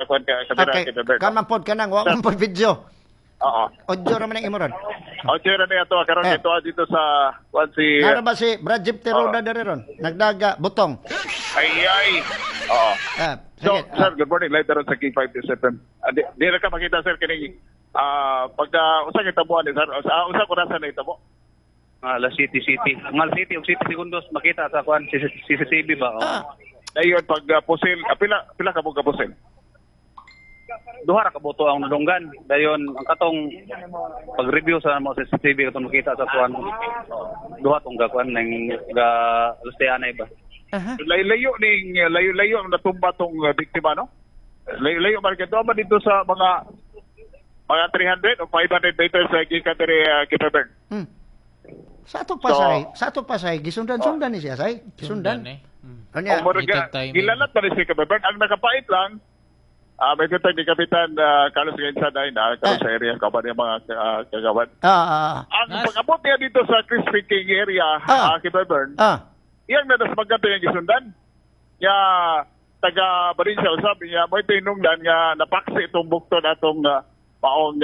kuan ka kamera Okay, kay Bert. kaman pod kanang wa man pod video. Oo. Audio ra man ang imo ron. Audio ra niya to karon Eh. dito dito sa kuan si Nara ba si Brad Jeep Teroda diri ron? Nagdaga butong. Ay ay. Oo. Ah, So, sige. sir, good morning. Live daron sa King 5 FM. Di ra ka makita, sir, kining pagka usa kay tabuan ni sir, usa ko rasa na itabo. Alas City City. Ang alas City og City Segundos makita sa kuan CCTV ba? Oh. Ah, Dayon pag pusil, pila pila ka mo ka pusil? Duha ra ka boto ang nadunggan. Dayon ang katong pag-review sa mo CCTV katong makita sa kuan. Duha tong ga kuan ning ga alas ba. Aha. Layo-layo ning layo-layo ang natumba tong biktima, no? Layo-layo man kay ba dito sa mga 300 o 500 meters sa gikan diri Kipebern. Sa ato pa So- say, sa ato pa say gisundan-sundan ni siya say. Gisundan. Eh. Kanya, O murag Little timing. gilalat pa ni si Kipebern. Ang nakapait lang, may kita ni Kapitan Carlos Gainsa dahil na karon sa area kaban yung mga kagawad. Ang pag-abot niya dito sa Crispy King area, Kipebern, iyang nadasmagan to yung gisundan. Ya taga Valencia usab niya mo tinungdan nga napaksi itong bukton atong maong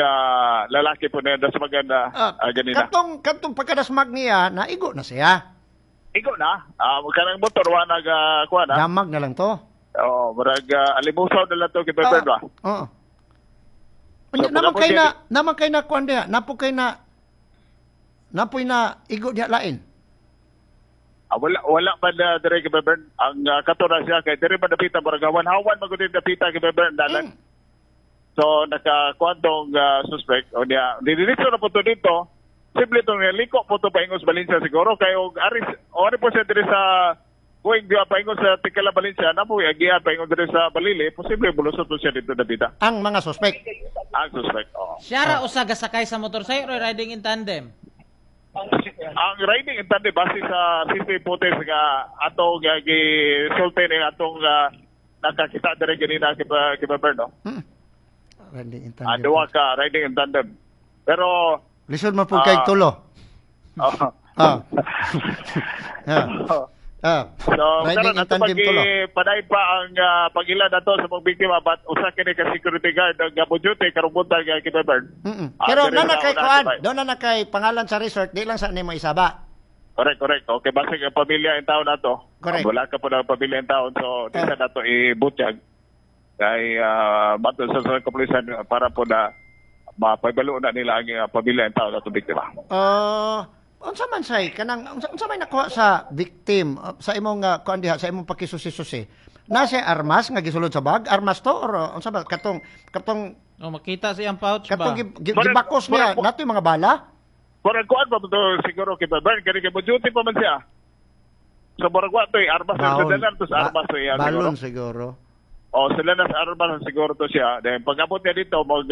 lalaki po na dasmagan na ganina. Katong katong pagkadasmag niya, naigo na siya. Igo na, kanang motor wa nag kuan na. Damag na lang to. Oh, murag alimusaw na lang to kay Bern ba. Oo. So, Unya, naman pag-abot kay na, niya- naman kay na kuan diha, napo kay na napoy na igo diha lain. Wala wala man dire kay Bern ang kato na siya kay dire man dapita murag hawan-hawan magud dapita kay Bern dalan. So nakakuan tong suspect o niya didiretso na po to dito. Simple itong liko po to paingos Valencia siguro kay og aris ori po siya diri sa going diya paingon sa Tikala Valencia na po agian paingon diri sa Balili, posible bulusot po siya dito dapita. Ang mga suspect. Ang suspect. Oo. Siya ra usa gasakay sa motorcycle or riding in tandem? Ang riding in tandem base sa CCTV footage nga atong gisulti ni atong nakakita diri ganina kay kay Berno. Riding in Ah, tandem. duha ka riding in tandem. Pero Lisod man po kay tulo. Oh. So, Riding karon in ato tandem pag tulo. paday pa ang pagila nato sa mga biktima but usa kini ka security guard ang duty karong buntag kay Bern. Pero Diri na na sa kay unahan, kuan, diba? doon na na kay pangalan sa resort, di lang sa nimo isaba. Correct, correct. Okay, basta ang pamilya in taon nato. Correct. Wala ka po ng pamilya in taon so di sa nato ibutyag. Kay bato sa kapulisan para po na mapaibalo na nila ang pamilya in taon nato biktima. Unsa man say kanang unsa may nakuha sa victim sa imong kuan diha sa imong pakisusi-susi? Nasa armas nga gisulod sa bag? Armas to or unsa ba katong katong O makita sa iyang pouch ba? katong gibakos niya nato yung mga bala? Murag kuan pa to siguro kay Bern kani kay mo duty pa man siya. So murag wa to armas sa sila to sa armas to iya siguro. Balon siguro. O sila na sa armas siguro to siya. Then pag-abot niya dito mag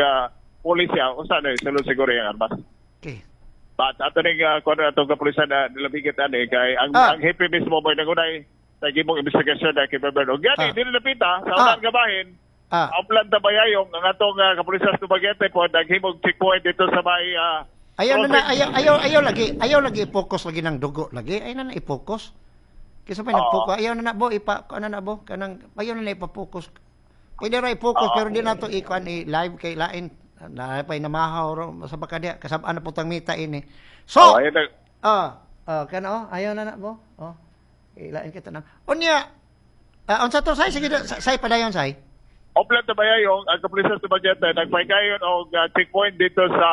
pulis siya usa na sulod siguro yung armas. Okay. But ato ning kuan atong kapulisan na nilabigit ani kay ang ang hepe mismo mo nangunay sa gimong investigasyon na kay Bern. Og gani dili napita sa unang gabahin. Ang plan ta bayayong ang atong kapulisan sa Dumaguete po naghimog checkpoint dito sa may Ayaw na na ayaw ayaw ayaw lagi ayaw lagi i-focus lagi ng dugo lagi ayaw na na i-focus. Kaysa pa nag-focus ayaw na na bo ipa kuan na na bo kanang ayaw na na ipa-focus. Pwede ra i-focus pero di na to i-kuan i-live kay lain na pay namahaw ro sa baka diha kasab-an na putang mita ini. So, Oh, ayun na. Kana oh, ayaw na na bo. Oh. Ilain kita na. Unya, unsa to say sige say padayon say. Oplan ta bayayong ang kapulisan sa Dumaguete nagpaygayon og checkpoint dito sa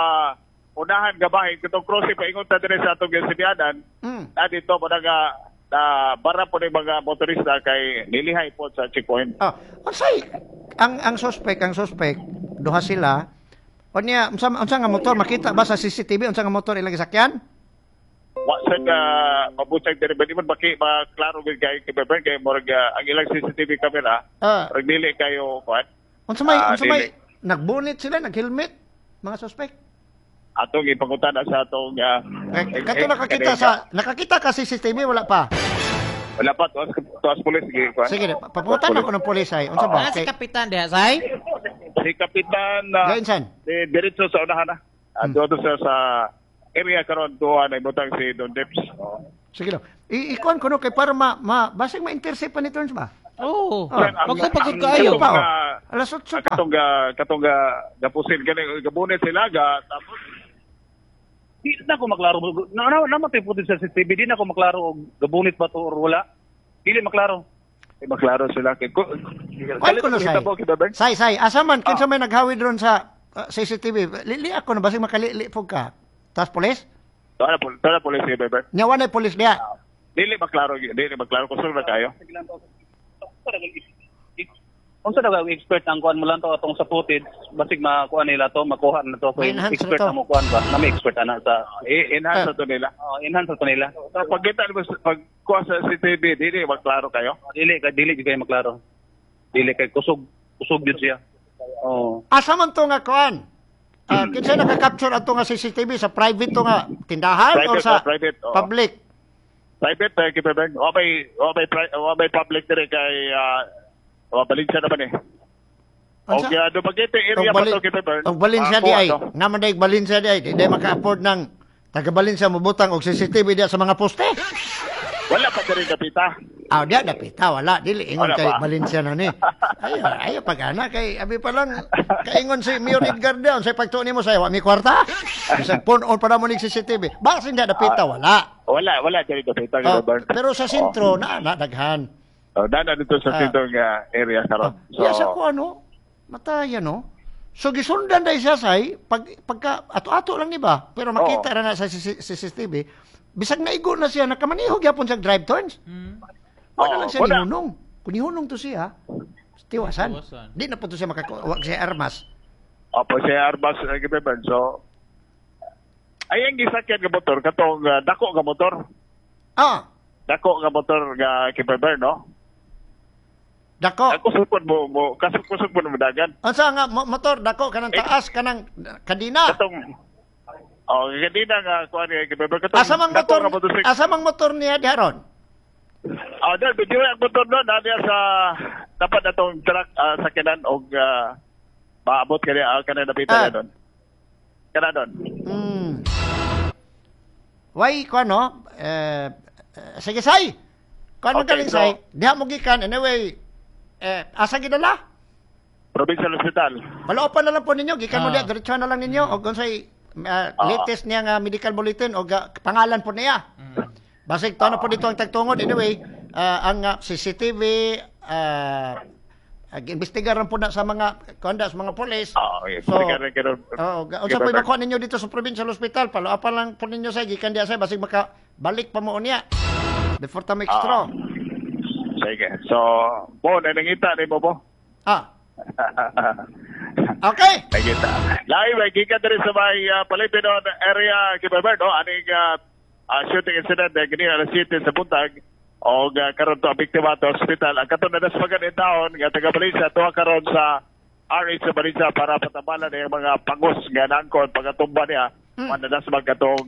unahan gabahin katong crossing paingon ta diri sa atong gasibianan. Na dito mo nga na bara po ni mga motorista kay nilihay po sa checkpoint. Unsay ang suspect duha sila. Unya unsa unsa nga motor makita ba sa CCTV unsa nga motor ilang gisakyan? Wa sad mabutag diri ba di man baki maklaro gid kay kay Bern kay murag ang ilang CCTV camera murag dili kayo kuan. Unsa may unsa may Dili. nagbunit sila, naghelmet mga suspect. Atong ipangutana sa atong Kato nakakita sa nakakita ka CCTV wala pa. Wala pa tuas tuas pulis sige kuan. Sige, paputan ako ng pulis ay. Unsa ba? Ah, si Kapitan diha say? Si Kapitan Gainsan. Di diretso sa unahan na. Doon sa area karon duha na ibutang si Don Dips. Sige lang. Ikuan ko no kay para ma, ma basig ma-intercept pa ni Turns ba? Oo. Oh. Magpapagod kaayo. Pa, oh. Alas 8 pa. Katong katong gapusil gani gabunit sila ga tapos Di na ako maklaro. Na na namatay po sa CCTV, di na ako maklaro og gabunit ba to or wala. Dili maklaro. Eh, maklaro sila kay Kuan ko no, Say. Kita po kita ba? Say, say, asa man kinsa may naghawid ron sa CCTV? Lili ako na basig makalili po ka. Tas polis? Tara po si Beber. Nya wa nay polis diha. Dili maklaro kusog na kayo. Unsa daw ang expert ang kuan mo lang to atong sa footage, basig makuan nila to, makuha na to. May enhance Expert na to. na mo kuan ba? Na may expert ana sa I-enhance na to nila. Oh, enhance na to nila. So, pag kita mo pag kuha sa CCTV, dili maklaro kayo. Dili kay dili jud kayo maklaro. Dili kay kusog kusog jud siya. Oh. Asa man to nga kuan? Kinsa naka-capture ato nga CCTV sa private to nga tindahan or Private, sa oh, private, oo. public? Private kay Beber. Wa may public dire kay wa Valencia naman eh. Unsa? Okay, Dumaguete area pa to kay Beber. Og Valencia di ay. Naman day Valencia di ay, di day maka-afford ng taga Valencia mobutang og CCTV diya sa mga poste. Wala pa diri kapita. Ah, diya dapita wala dili ingon Wala kay pa. Valencia na ni. Ayo, ayo pag ana kay abi pa lang kaingon si Mayor Edgar Down sa pagtuon nimo sa wa mi kwarta. Bisag phone on pa na mo ning CCTV. Basin diya dapita wala. Wala, wala diri dapita kay Oh, Beber. pero sa sentro na na daghan. Oh, dana dito sa sentro nga area karon. So, ya sa ko ano, mataya no. So gisundan dai siya say pag pagka ato-ato lang ni ba, pero makita ra na sa CCTV, bisag naigo na siya nakamaniho gyapon siya drive turns. Wala Oo, lang siya wala. nihunong. Kung nihunong to siya, tiwasan. Tiwasan. Di na po to siya makakuha siya armas. Opo, si Arbas kay Beber. So ay ang gisakyan nga motor katong dako nga motor. Ah, Dako nga motor nga kay Beber, no? dako. Ako sukod mo mo kasuk-kusog mo dagan. Unsa nga motor dako kanang taas kanang kadina. Katong Oh, kanina nga kuan ni kay Beber katong Asa mang dako motor? nga motorsiklo. Asa mang motor niya diharon? Ah, dahil medyo ang motor doon, na sa dapat na tong truck sakyanan og maabot kani kana napita na doon. Kana doon. Why ko ano? Eh, sige say. Kuan man Okay, galing so- say. Diha mo gikan anyway. Eh, asa gidala? Provincial Hospital. Paloopan na lang po ninyo, gikan mo Ah. diha, diretso na lang ninyo og unsay latest niya nga medical bulletin og pangalan po niya. Basig to na po dito ang tagtungod anyway, ang CCTV imbestigaran po na sa mga konda sa mga pulis. Ah, okay. So, Investigaran karon. Oo, unsa po makuha ninyo dito sa provincial hospital, paloopan lang po ninyo sa gikan diha say basig maka balik pa mo unya. Before ta make straw. Sige. So, po nangita nimo po. Ah. Okay. Nangita. Live ay gikan diri sa may Palipinon area kay Beber, no? Aning shooting incident gini alas 7 sa buntag og karon to ang biktima to hospital. Ang katong nadaspagan in taon nga taga Valencia tuwa karon sa RH sa Valencia para patabalan ang mga pangos nga nangkon pagatumba niya mm. Nadasmag katong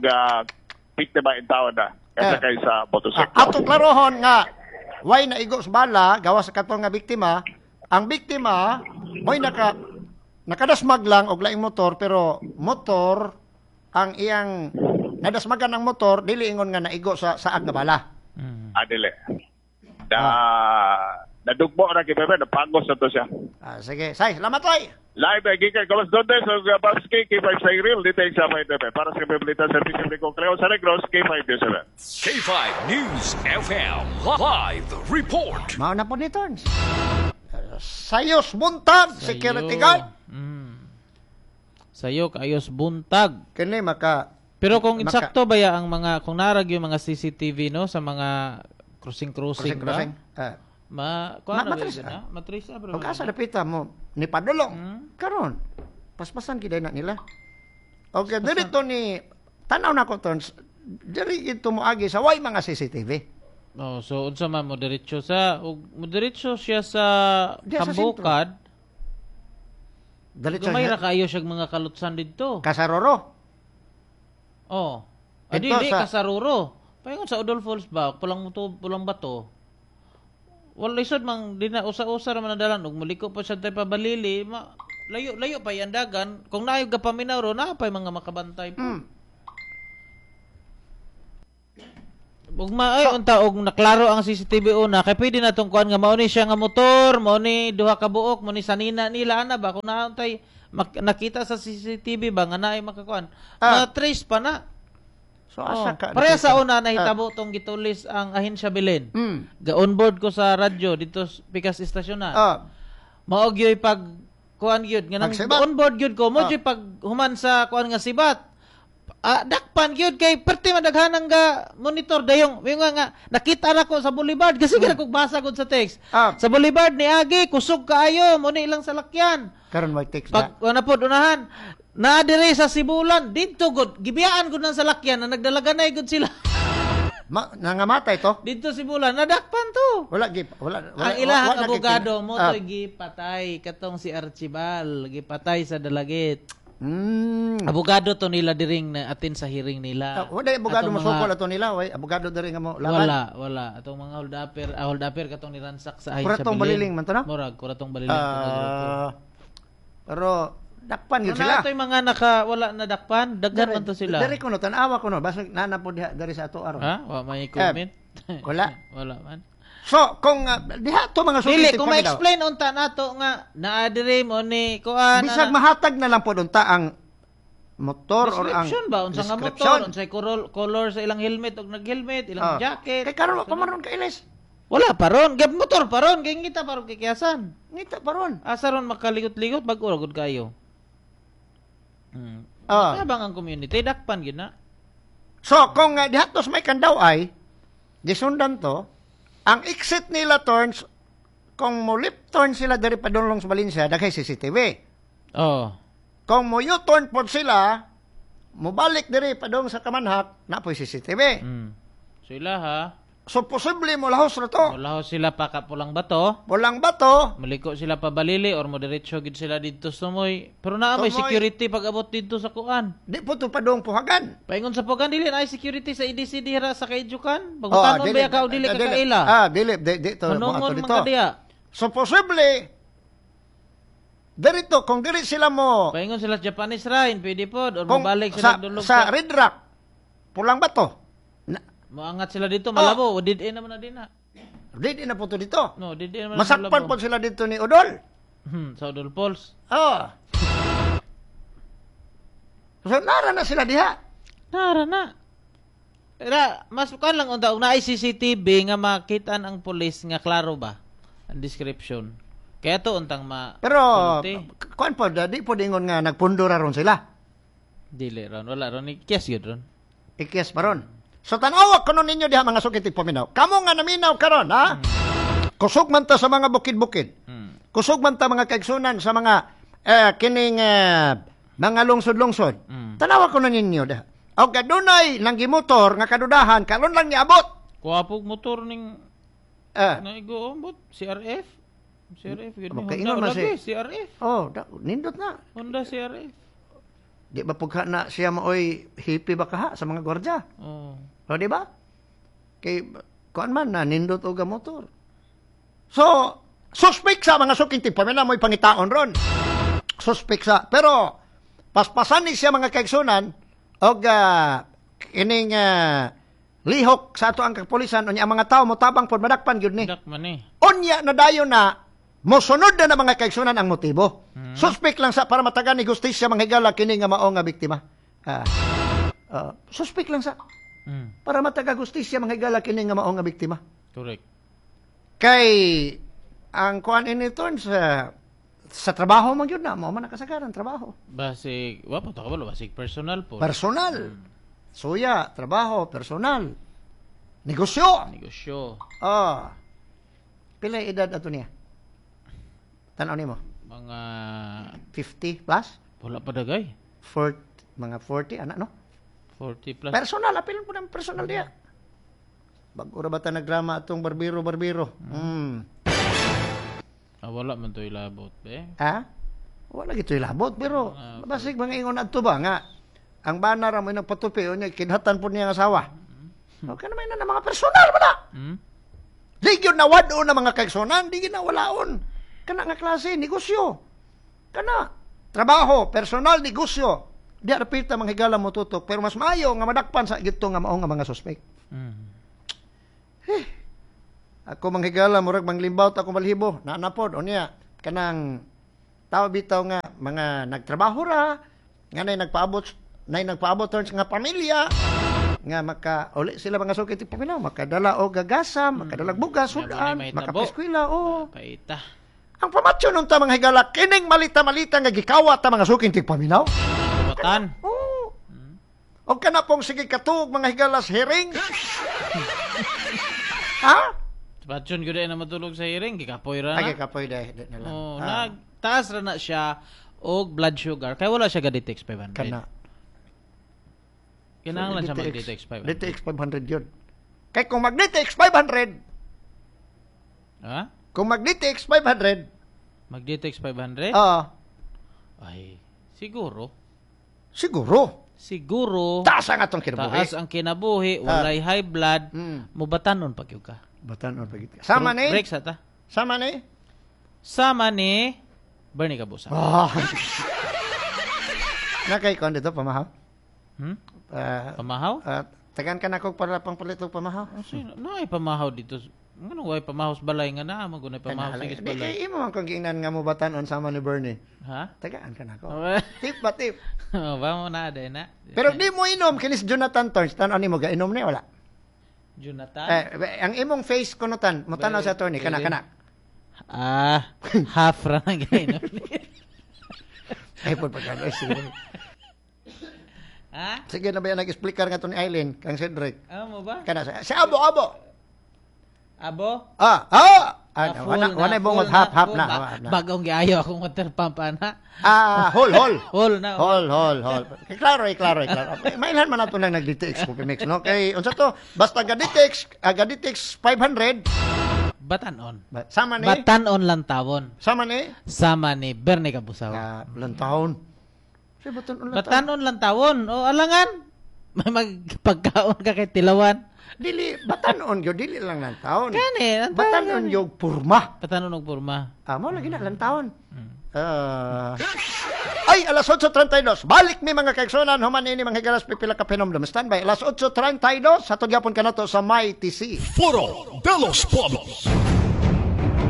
biktima in taon na kasakay sa motorsiklo. Atong klarohon nga way naigo sa bala gawas sa katong nga biktima, ang biktima mo'y nakadasmag lang og laing motor pero motor ang iyang nadasmagan ang motor dili ingon nga naigo sa saag nga bala. Dili. Nadugmo na kay Bebe, napangos na to siya. Sige, say, salamat oy. Live ay gikan Carlos Dondes og Babski K5 sa Grill dito sa 5 FM para sa Balita Serbisyo Publiko Cleo sa Negros K5 News FM. K5 News FM Live Report. Mao na po ni Torns. Sayos buntag, security guard. Sayo kaayos buntag. Kini maka Pero kung insakto ba ya ang mga kung narag yung mga CCTV no sa mga crossing-crossing ba? Crossing. Ma kuan na matris, na? Matris bro. Ug asa dapita mo ni padulong. Karon paspasan gid na nila. Okay, diri to ni tan-aw na ko Torns. Diri gid moagi sa way mga CCTV. Oh, so unsa man mo diretso sa ug mo diretso siya sa Kambukad. Diretso Gamay ra kaayo siya mga kalutsan didto. Kasaroro. Oh. Adi di Kasaroro. Paingon sa Udol Falls ba, pulang muto, pulang bato. Wala lisod mang di na usa-usa ra man ang dalan ug muliko pa siya tay pabalili, layo layo pa yan dagan. Kung naayog ka paminaw ro, naa pay mga makabantay po. Ug maay unta og naklaro ang CCTV una kay pwede na tong kuan nga mao ni siya nga motor, mao ni duha ka buok, mao ni sanina nila ana ba kung naantay nakita sa CCTV ba nga naay makakuan. Ma-trace pa na. So asa ka? Pareha sa una nahitabo tong gitulis ang Ahensya Belen. Ga onboard ko sa radyo dito pikas istasyon na. Mao gyoy pag kuan gyud nga nang onboard gyud ko mo gyud pag human sa kuan nga sibat. Dakpan gyud kay perti madaghanang ga monitor dayong yung nga nakita ra ko sa Boulevard kasi mm. kog basa gud sa text. Sa Boulevard ni agi kusog kaayo mo ni ilang salakyan. Karon may text na. Pag na pod unahan na dire sa Sibulan didto gud gibiyaan gud ng salakyan na nagdalaganay gud sila. Nangamatay to? Didto Sibulan nadakpan to. Wala gi wala, wala ang ilahang abogado mo to'y gipatay katong si Archibald gipatay sa Dalagit. Abogado to nila diring na atin sa hearing nila. Wala abogado mo sukol ato nila, way abogado diri nga mo laban. Wala atong mga hold upper katong niransak sa ahensya. Kuratong Baliling man to na? Murag kuratong Baliling. Pero dakpan gyud sila. Ano atoy mga naka wala na dakpan, daghan man to sila. Diri kuno tan-awa kuno basta nana po diha diri sa ato aron. Ha? Wa may comment. Wala. Wala man. So, kung diha to mga suggestive kung ma-explain unta nato nga naa diri mo ni kuan bisag mahatag na lang pod unta ang motor or ang description ba unsa nga motor, unsay color sa ilang helmet og nag-helmet, ilang jacket. Kay karon wa pa man ron kailis. Wala pa ron, gab motor pa ron, kay ngita pa ron kikiasan. Ngita pa ron. Asa ron makaligot-ligot bag-o ra gud kayo. Tabang ang community dakpan gid na. So, kung diha to sa may Kandaw ay gisundan to, ang exit nila turns, kung mo left turn sila diri padulong sa Valencia, daghay CCTV. Oh. Kung mo U-turn pod sila, mobalik diri padung sa Kamanhak, na po'y CCTV. Sila ha. So posible mo lahos ra to. Mo lahos sila pa ka Pulang Bato. Pulang Bato. Muliko sila pa Balili or mo diretso gid sila didto sa Tumoy. Pero naa may security pag abot didto sa kuan. Di po to padung Puhagan. Paingon sa Puhagan dili na security sa EDC dira sa Kaijukan. Pagutanon ba ka o dili ka kaila? Dili di to mo ato dito. So posible dirito kung dili sila mo. Paingon sila Japanese Rhine, pwede pod or mobalik sila dulog sa Red Rock. Pulang Bato. Moangat sila dito, malabo. Did in naman na din na. Did in na po to dito. No, did in naman. Masakpan po sila dito ni Odol. Sa Odol Falls. Oo. So, nara na sila diha. Nara na. Pero, mas kuan lang unta, kung naay CCTV nga makitaan ang pulis nga klaro ba ang description. Kaya to untang ma... Pero, kuan po, di po dingon nga nagpundo ra ron sila. Dili ron. Wala ron. Ikyas yun ron. Ikyas pa ron. So tanawa kuno ninyo diha mga sukit paminaw. Kamo nga naminaw karon ha. Kusog man ta sa mga bukid-bukid. Kusog man ta mga kaigsunan sa mga kining mga lungsod-lungsod. Tanawa kuno ninyo diha. Og adunay nang gimotor nga kadudahan karon lang niabot. Kuwapog motor ning naigo ambot CRF. CRF gyud ni Honda lagi CRF. Oh, nindot na. Honda CRF. Di ba pugha na siya maoy hippie ba kaha sa mga gwardiya? Oo. O, di ba? Kay, kuan man na, nindot og motor. So, suspect sa mga suking tigpamina mo'y pangitaon ron. Suspect sa. Pero, paspasan ni siya mga kaigsunan, og kining lihok sa ato ang kapulisan, unya ang mga tao motabang pod madakpan gyud ni. Dakman ni. Unya na dayon na, mosunod na mga kaigsunan ang motibo. Suspect lang sa para matagan ni gustisya mga higala kini nga mao nga biktima. Suspect lang sa para mataga gustisya mga higala kini nga mao nga biktima. Correct. Kay ang kuan ini sa trabaho man gyud na mao man nakasagaran trabaho. Basig wa pa ta kabalo basig personal po. Personal. Suya, trabaho, personal. Negosyo. Negosyo. Pila edad ato niya? Tanaw nimo? Mga 50 plus? Wala pa dagay. 40, mga 40 ana no? 40 plus. Personal, apil po ng personal diya. Bago ra ba ta nagdrama atong barbero? Wala man to ilabot, be. Ha? Wala gito ilabot, pero basig mga ingon adto ba nga ang bana ra mo nagpatupi unya kinhatan po niya ang asawa. Okay na may na mga personal ba na? Di gyud na wad-on na mga kaigsunan, di gyud na walaon. Kana nga klase, negosyo. Kana, trabaho, personal, negosyo. Di arapita mga higala mo tutok, pero mas maayo nga madakpan sa gito nga mao nga mga suspect. Eh, ako manghigala murag manglimbaw ta ako balhibo. Naa na pod unya kanang tao bitaw nga mga nagtrabaho ra nga nay nagpaabot turns nga pamilya nga maka uli sila mga suki tigpaminaw, makadala og gagasam, makadala og bugas, sudan, makapiskwela, oh. Paita. Ang pamatyo nun ta mga higala, kining malita-malita nga gikawat ta mga suking tigpaminaw. Batan. Oo. Og kana pong sige katuog mga higalas hearing. Ha? Patyon gyud na matulog sa hearing, gikapoy ra na. Ay, gikapoy dai na lang. Oh, nagtaas ra na siya og blood sugar kay wala siya ga-DTX 500. Kana. Kinahanglan siya mag-DTX 500. DTX 500 yun. Kay kung mag-DTX 500, ha? Kung mag-DTX 500, mag-DTX 500? Oo. Ay, siguro. Siguro. Siguro. Taas ang atong kinabuhi. Taas ang kinabuhi, walay high blood, mubatanon pag yun ka. Batanon pag yun ka. Sama ni? Break sa ta. Sama ni? Sama ni Bernie Kabusa. Oh. Nakay kon dito pamahaw? Hmm? Pamahaw? Tagan ka na kog para pang palit og pamahaw. Oh, naay pamahaw dito. Ngano way pamahaw sa balay nga naa mo gunay pamahaw sa balay. Di kay imo man kung giingnan nga mo batanon sama ni Bernie. Ha? Tagaan ka nako. Tip ba tip? Oh, ba mo na day na. Pero di mo inom kinis Jonathan Torres. Tan-on nimo ga inom ni wala. Jonathan? Eh, ang imong face kunutan, mo tan-aw sa attorney kana kana. Ah, half ra nang gainom ni. Ay pod pagkano sige. Ha? Sige na ba yan nag-explicar nga to ni Eileen kang Cedric. Ah, mo ba? Kana si Abo Abo. Abo? Ah, ah. Ah, wala bungot half half na. Bagong giayo akong water pump ana. Ah, hol hol. Hol na. Hol hol hol. Klaro, klaro, klaro. Mailhan man nato nang nag-DTX Coffee Mix, no? Kay unsa to? Basta ga-DTX, ga-DTX 500. Batanon. Sama ni? Batanon lang tawon. Sama ni? Sama ni Bernie Kabusaw. Ah, lantawon. Si batanon lang. Batanon lang tawon. O alangan. May magpagkaon ka kay tilawan. Dili batanon gyud, dili lang lantawon. Kani, batanon yung purma. Batanon og purma. Ah, mo lagi na lantawon. Ay, alas 8:32. Balik mi mga kaigsunan, human ini mga higalas pipila ka penomdom. Standby alas 8:32 hatod gyapon kanato sa Mighty C. Foro de los Pueblos.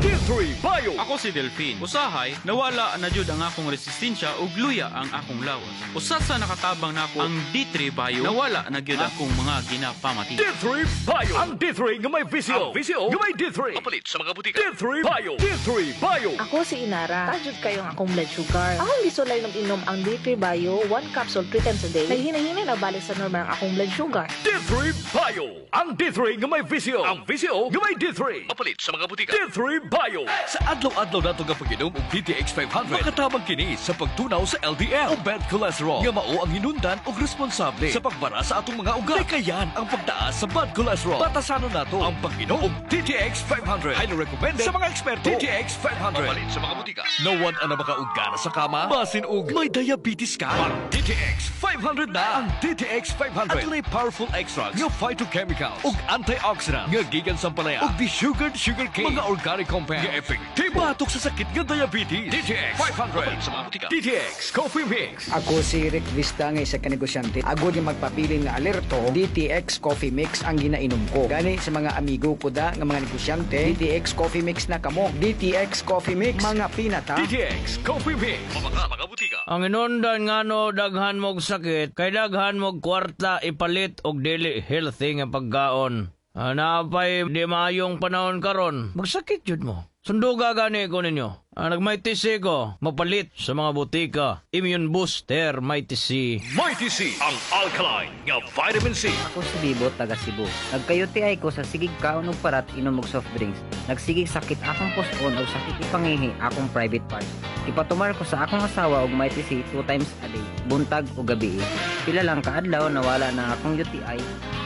D3 Bio. Ako si Delphine. Usahay, nawala na jud ang akong resistensya ug luya ang akong lawas. Usa sa nakatabang nako ang D3 Bio, nawala na gyud akong mga ginapamati. D3 Bio. Ang D3 nga may VCO. Ang VCO nga may D3. Papalit sa mga butika. D3 Bio. D3 Bio. Ako si Inara. Tajud kayo ang akong blood sugar. Akong gisulay ng inom ang D3 Bio, 1 capsule 3 times a day. Naghinahina na balik sa normal ang akong blood sugar. D3 Bio. Ang D3 nga may VCO. Ang VCO nga may D3. Papalit sa mga butika. D3 Bio. Sa adlaw-adlaw nato nga pag-inom og DTX 500, makatabang kini sa pagtunaw sa LDL o bad cholesterol nga mao ang hinundan og responsable sa pagbara sa atong mga ugat. Likayan ang pagtaas sa bad cholesterol. Batasanon nato ang pag-inom og DTX 500. Highly recommended sa mga eksperto. DTX 500. Mapalit sa mga butika. Nawan ana makaugana sa kama, basin og may diabetes ka. Mag DTX 500 na. Ang DTX 500 adunay powerful extracts nga phytochemicals ug antioxidant nga gikan sa ampalaya ug desugared sugar cane, mga organic compound nga epektibo batok sa sakit nga diabetes. DTX 500 sa mga butika. DTX Coffee Mix. Ako si Rick Vista nga isa ka negosyante. Agod yung magpabilin nga alerto, DTX Coffee Mix ang ginainom ko. Gani sa mga amigo ko da nga mga negosyante, DTX Coffee Mix na kamo. DTX Coffee Mix, mga pinata. DTX Coffee Mix. Mga butika. Ang inundan ngano daghan mog sakit, kay daghan mog kwarta ipalit og dili healthy nga pagkaon. Naapay di maayong panahon karon, magsakit jud mo. Sunduga gani ko ninyo. Nag-Mighty C ko, mapalit sa mga butika. Immune booster, Mighty C. Mighty C, ang alkaline nga vitamin C. Ako si Bibo, taga Cebu. Nagka-UTI ko sa sigig kaon og parat inom og soft drinks. Nagsigig sakit akong puson og sakit ipangihi akong private parts. Ipatumar ko sa akong asawa og Mighty C 2 times a day, buntag o gabi. Pila lang kaadlaw nawala na akong UTI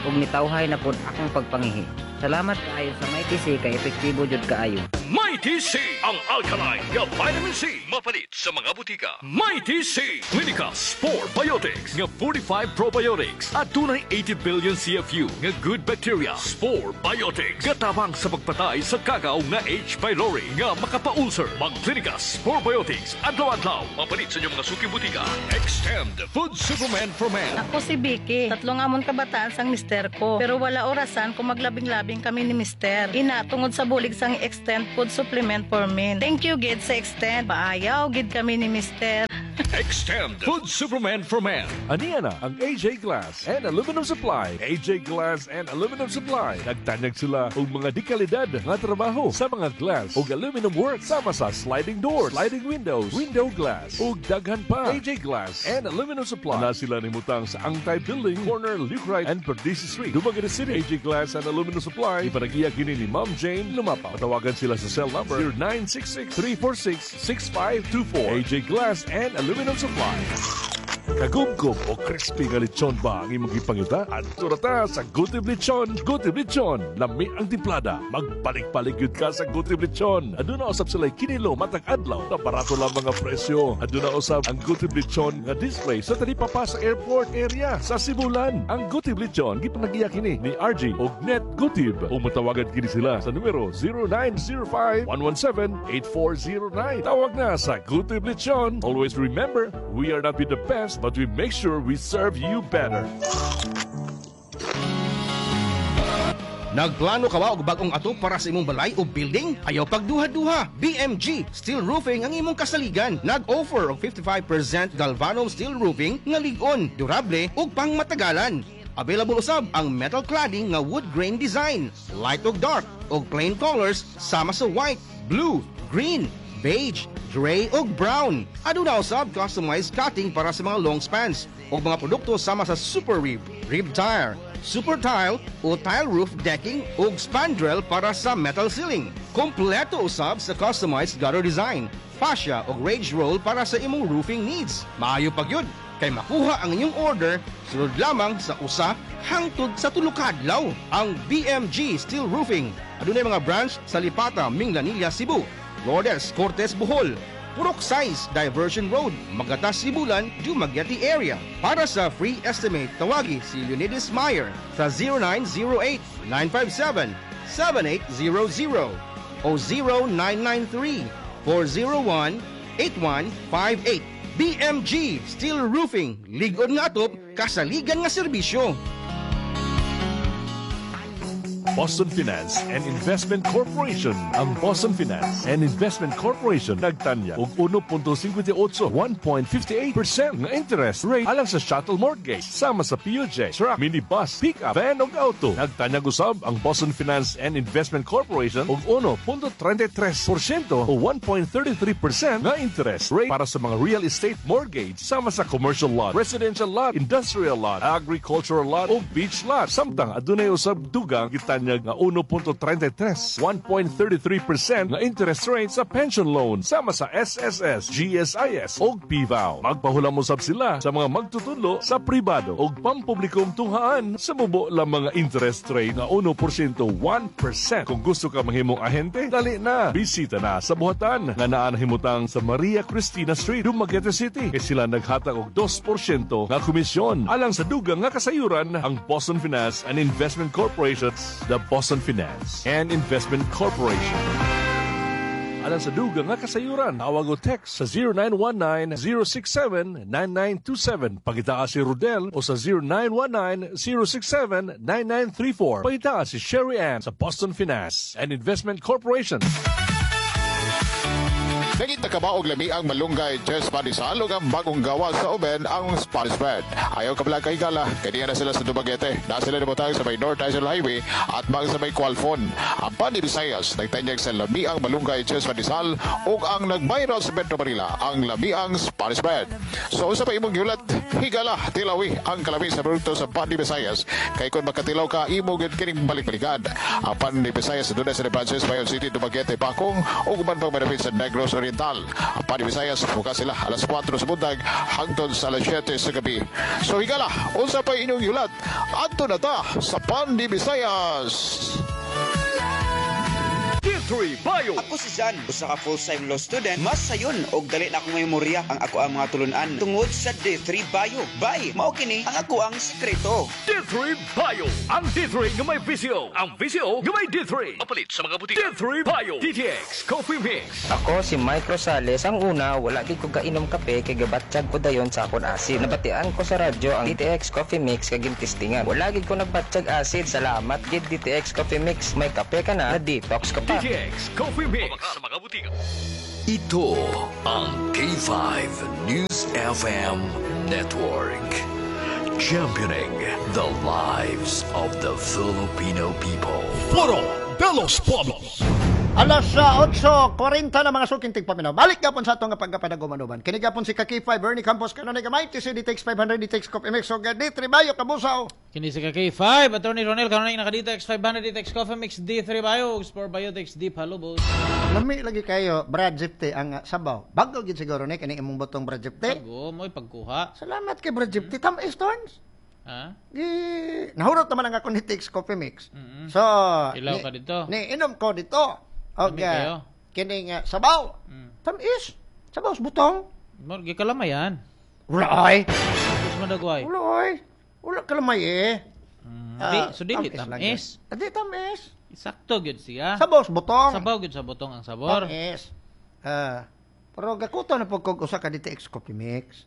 ug nitawhay na pod akong pagpangihi. Salamat kaayo sa Mighty C kay epektibo jud kaayo. Mighty C, ang alkaline nga vitamin C, mapalit sa mga butika. Mighty C, Clinica Spore Biotics nga 45 probiotics at dunay 80 billion CFU nga good bacteria. Spore Biotics gatabang sa pagpatay sa kagaw nga H. pylori nga makapa-ulcer. Mag-Clinica Spore Biotics adlaw-adlaw, mapalit sa inyong mga suking butika. Extend Food Supplement for Men. Ako si Vicky. Tatlo nga amon kabataan sang mister ko. Pero wala orasan kung maglabing-labing kami ni mister. Ina, tungod sa bulig sang Extend Food Supplement for Men. Thank you, gid, sa Extend. Paayaw, gid kami ni mister. Extend Food Supplement for Men. Aniya na ang AJ Glass and Aluminum Supply. AJ Glass and Aluminum Supply. Nagtanyag sila og mga dekalidad nga trabaho sa mga glass ug aluminum work sama sa sliding doors, sliding windows, window glass ug daghan pa. AJ Glass and Aluminum Supply. Na sila nimutang sa Angtay Building, corner Luke Wright and Perdices Street, Dumaguete City. AJ Glass and Aluminum Supply. Ipanagiya kini ni Ma'am Jane Lumapa. Matawagan sila sa cell number 0966-346-6524. AJ Glass and Aluminum Supply. Kagumgum o crispy nga lechon ba ang imong gipangita? Adto ra ta sa Gutib Lechon. Gutib Lechon, lami ang timplada. Magbalik-balik yun ka sa Gutib Lechon. Aduna usab sila kinilo matag adlaw na barato lang mga presyo. Aduna usab ang Gutib Lechon nga display sa talipapa sa airport area sa Sibulan. Ang Gutib Lechon gipanagiya kini ni RG og Net Gutib. O matawagan kini sila sa numero 0905 117 8409. Tawag na sa Gutib Lechon. Always remember, we are not be the best, but we make sure we serve you better. Nagplano ka ba og bag-ong atop para sa imong balay o building? Ayaw pagduha-duha. BMG Steel Roofing ang imong kasaligan. Nag-offer og 55% galvanum steel roofing nga lig-on, durable ug pangmatagalan. Available usab ang metal cladding nga wood grain design, light ug dark, ug plain colors sama sa white, blue, green, beige, gray ug brown. Aduna usab customized cutting para sa mga long spans ug mga produkto sama sa super rib, rib tire, super tile o tile roof decking ug spandrel para sa metal ceiling. Kompleto usab sa customized gutter design, fascia ug rage roll para sa imong roofing needs. Maayo pa gyud kay makuha ang inyong order sulod lamang sa usa hangtod sa tulo ka adlaw. Ang BMG Steel Roofing adunay mga branch sa Lipata, Minglanilla, Cebu, Lourdes, Cortes, Bohol, Purok 6, Diversion Road, Magatas, Sibulan, Dumaguete area. Para sa free estimate, tawagi si Leonidas Meyer sa 0908-957-7800 o 0993-401-8158. BMG Steel Roofing, lig-on nga atop, kasaligan nga serbisyo. Boston Finance and Investment Corporation. Ang Boston Finance and Investment Corporation nagtanya og 1.58, 1.58% nga interest rate alang sa chattel mortgage sama sa PUJ, truck, minibus, pickup, van ug auto. Nagtanyag usab ang Boston Finance and Investment Corporation og 1.33% o 1.33% nga interest rate para sa mga real estate mortgage sama sa commercial lot, residential lot, industrial lot, agricultural lot ug beach lot. Samtang adunay usab dugang gitanyag nga 1.33, 1.33% nga interest rate sa pension loan sama sa SSS, GSIS ug PVAO. Magpahulam usab sila sa mga magtutudlo sa pribado ug pampublikong tunghaan sa mubo lang mga interest rate nga 1%, 1%. Kung gusto ka mahimong ahente, dali na. Bisita na sa buhatan nga naa nahimutang sa Maria Cristina Street, Dumaguete City. Kay sila naghatag og 2% nga komisyon alang sa dugang nga kasayuran ang Boston Finance and Investment Corporation, the Boston Finance and Investment Corporation. Alang sa dugang nga kasayuran, tawag o text sa 0919-067-9927. Pagitaa si Rodel o sa 0919-067-9934. Pagitaa si Sherry Ann sa Boston Finance and Investment Corporation. Nangita ka ba og lami ang malunggay Jess Pandesal ug ang bagong gawa sa oven ang Spanish bread? Ayaw ka pala kay gala, kay na sila sa Dumaguete. Na sila namutang sa may North National Highway at bang sa may Qualfon. Ang Pani Visayas nagtanyag sa lami ang malunggay Jess Pandesal ug ang nag-viral sa Metro Manila ang lami ang Spanish bread. So usa pa imong yulat, higala tilawi ang kalami sa produkto sa Pani Visayas. Kay kung makatilaw ka imo gyud kining balik-balikan. Ang Pani Visayas adunay sa branches Bayon City, Dumaguete, Bakong ug uban pang manapit sa Negros Oriental. Ang Pani Visayas bukas sila alas 4 sa buntag hangtod sa alas 7 sa gabi. So higala, unsa pa inyong yulat? Adto na ta sa Pani Visayas. D3 D3 Bio. Ako si Jan, usa ka full-time law student. Mas sayon og dali na akong memorya ang ako ang mga tulunan tungod sa D3 Bio. Bay, mao kini ang ako ang sikreto. D3 Bio. Ang D3 nga may VCO. Ang VCO nga may D3. Mapalit sa mga butika. D3 Bio. DTX Coffee Mix. Ako si Mike Rosales. Ang una, wala gid ko kainom kape kay gabatsyag ko dayon sa akon acid. Nabatian ko sa radyo ang DTX Coffee Mix kag gintistingan. Wala gid ko nagbatsyag acid. Salamat gid DTX Coffee Mix. May kape ka na, na-detox ka pa. DTX Coffee Mix. Sa mga butika. Ito ang K5 News FM Network. Championing the lives of the Filipino people. Foro de los Pueblos. Alas 8:40 na, mga suking tigpaminaw. Balik gapon sa atong pagkapadagumanuban. Kini gapon si ka-K5 Bernie Campos kanunay gamay TC DTX 500 DTX Coffee Mix og D3 Bio kabusaw. Kini si ka-K5, Attorney Ronel, kanunay naka-DTX 500, DTX Coffee Mix, D3 Bio, Sport Biotics, D Palubos. Lami lagi kayo Brad Zipte ang sabaw. Bago gid siguro ni kini imong botong Brad Zipte. Bago mo'y pagkuha. Salamat kay Brad Zipte. Tam Stones. Ha? Gi nahurot naman ang akong DTX Coffee Mix. So, Ilaw ka dito. Ni inom ko dito. Og Lami kayo. Kining sabaw. Tamis. Sabaw sa butong. Mo gikalamayan. Wala ay. Tapos madagway. Wala ay. Wala kalamay eh. Di, so dili tamis. Di tamis. Sakto gyud siya. Sabaw sa butong. Sabaw gyud sa butong ang sabor. Tamis. Pero gakuto na po kog usa ka DTX Coffee Mix.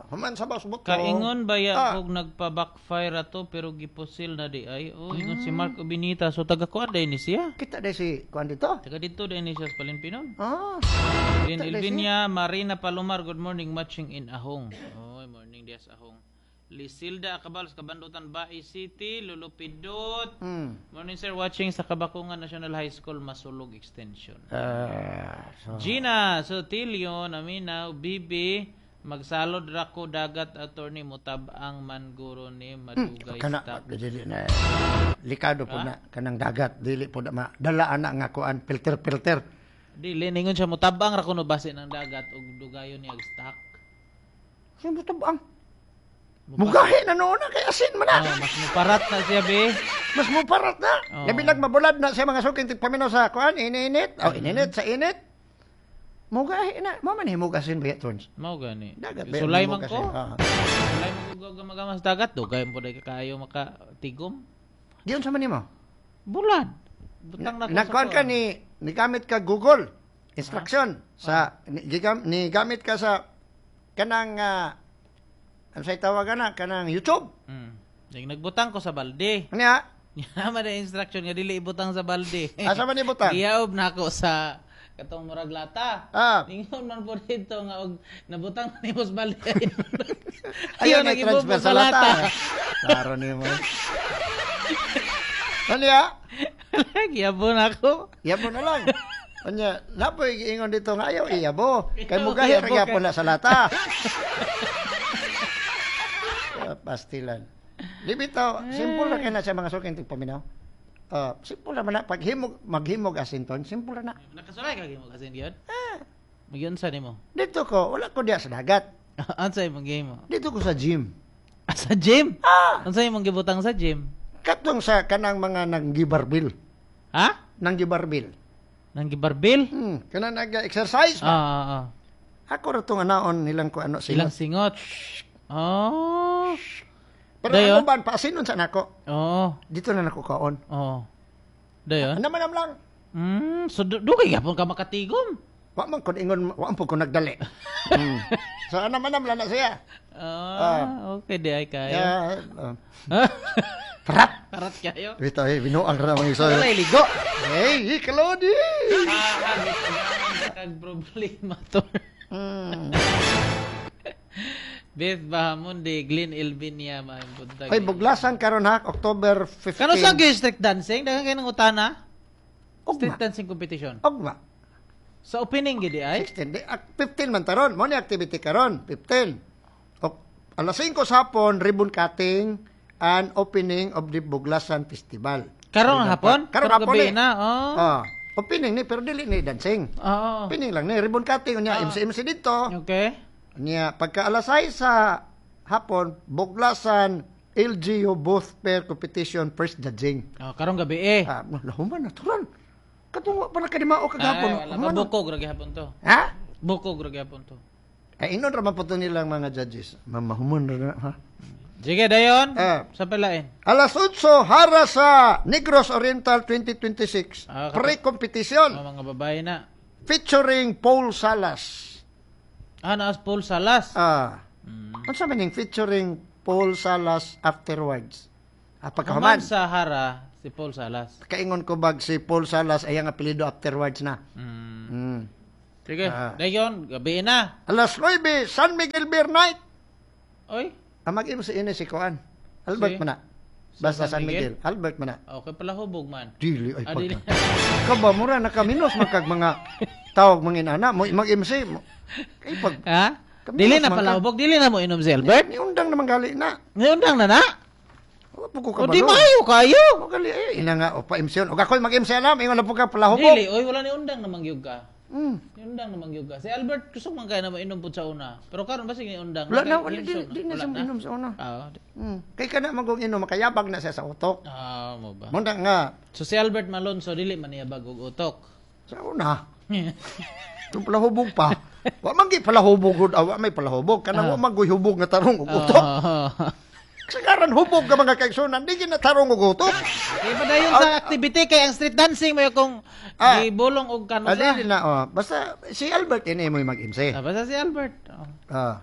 Human sabaw sa butong. Kaingon baya kog nagpa-backfire ato pero gipusil na di ay. Oh, ingon si Mark Obinita. So taga kuan day ni siya. Kita day si kuan dito. Taga dito day ni siya sa Palinpinon. Ah. Din Elvinia Marina Palomar, good morning, matching in Ahong. Oy, morning dias Ahong. Lisilda Acabal sa Kabandutan, Bae City, Lulupidot. Morning sir, watching sa Kabakungan National High School, Masulog Extension. So. Gina Sotilio, Naminaw, Bibi, magsalod ra ko dagat attorney mutab-ang man guro ni madugay Kana stock. Dili na likado po na kanang dagat dili po na dala ana nga kuan filter filter. Dili ningon siya mutab-ang ra kuno base ng dagat ug dugayon niya og stock. Siya mutab-ang. Mugahi na noon na kay asin man na. Oh, mas muparat na siya be. Mas muparat na. Oh. Labi nagmabulad na siya mga suking tigpaminaw sa kuan ininit. Oh, ininit sa init. Mugahi na. Mo man himog asin ba tons? Mao gani. Dagat ba Sulay man himog ko. asin? Ah. Sulay man ko gamagamas dagat dugay po dai kayo makatigom. Di unsa man nimo? Bulad. Butang na ko sa Nagkuan ka kuan. ni nigamit ka Google instruction sa ni, ni gamit ka sa kanang ano say tawagan na kanang YouTube. Nag nagbutang ko sa balde. Nya. Nya man instruction nga dili ibutang sa balde. Asa man ibutang? Giyaob na ako sa katong murag lata. Ah. Ingon man po dito nga og nabutang na nimo sa balde. Ayaw na nag-ibog transfer sa lata. Klaro nimo. Ano ya? Giyabo na ako. Iyabo na lang. Anya, napoy giingon dito nga ayaw iyabo. Kay mugahi ra Iyabo gyapon kay- na sa lata. Pastilan. Di bitaw, simple ra kay na sa mga suking tigpaminaw. Simple ra man na pag himog maghimog asinton, simple ra na. Nakasulay ka gimo kasi gyud? Ah. Magyunsa nimo? Dito ko, wala ko diya sa dagat. Unsa imong gihimo? Dito ko sa gym. Ah, sa gym? Ah! Unsa imong gibutang sa gym? Katong sa kanang mga nanggibarbil. Ha? Nanggibarbil. Nanggibarbil? Kanang nag-exercise ba? Ah. Ako ra tong anaon nilang ko ano Ilang singot. Oh. Pero Dayon? ano ba, paasinon sa nako. Oo. Dito na nako kaon. Oo. Dayon? Ano man lang. So dugay gyapon ka makatigom. Wa man kon ingon, wa man po ko nagdali. So ano man lang na siya. Ah, okay di ay kayo. Yeah, Parat. Parat kayo. Bitaw eh, binuang ra mga iso. Walay ligo. Hey, kalodi. Ah, kag problema to. Beth Bahamundi, Glenn Elvinia, maayong buntag. Ay, buglasan karon ha, October 15. Kano sa street dancing? Daghan kayo ng utana? Street dancing competition. Ugma. Sa opening gid ay? 16. Di, 15 man taron. Mo ni activity karon, 15. Ok, alas 5 sa hapon, ribbon cutting and opening of the Buglasan Festival. Karon Ribbon hapon? Karon Karong hapon gabi ni. na, oh. Ah, opening ni pero dili ni dancing. Oo. Opening lang ni ribbon cutting unya MC MC dito. Okay. Unya pagka alas 6 sa hapon, Buglasan LGU Booth Fair Competition First Judging. Oh, karong gabi eh. Ah, lahuman na turon. Katong wa pa nakadimao kagahapon. Ay, wala pa. Bukog ra gihapon to. Ha? Bukog ra gihapon to. Ay, inon ra man po to nilang mga judges. Mamahumon ra na, ha? Sige, dayon. Sa palain. Alas 8, hara sa Negros Oriental 2026. Pre-competition. Mga babae na. Featuring Paul Salas. Ah, naas Paul Salas. Ah. Unsa man yung featuring Paul Salas afterwards? Ah, pagkahuman. Human sa hara si Paul Salas. Kaingon ko bag si Paul Salas ay ang apelyido afterwards na. Sige, dayon, gabi na. Alas 9, San Miguel Beer Night. Oy. Ah, mag-imo si ini si Kuan. Albert Si? man na. Basta San San Miguel? Miguel. Albert man na. Okay pala hubog man. Dili ay Ah, dili. pagka. Kaba mura nakaminos man kag mga tawag mga inana mo mag-MC mo. Kay pag Ha? Dili na pala hubog, dili na mo inom si Albert. Niundang naman gali na. Niundang na na. Wa po ko O di kabalo. maayo kayo. O gali eh, ina nga o pa MC yun. Og ako'y mag-MC na, ingon na po ka pala hubog. Dili, oy wala ni undang namang gyud ka. Ni undang namang gyud ka. Si Albert kusog man kay na mo inom pud sa una. Pero karon basig ni undang. Wala na, Kay wala, himsog di, di na Wala siya inom sa una. Ah, Kay kana magong inom, makayabag na siya sa utok. ah, mo ba? Munda nga, So si Albert Malonzo dili man niya bagog utok. Sa una. Yung pala hubog pa. Wa man gi pala hubog gud, wa may pala hubog. Kanang wa man guy hubog nga tarong og utok. Kasagaran hubog ka mga kaigsunan, di gina tarong og utok. Kaya pa dayon sa activity kay ang street dancing may kung gibulong og kano Ah, sa. dili na, oh. Basta si Albert ini mo mag-MC. Ah, basta si Albert. Oh. Ah.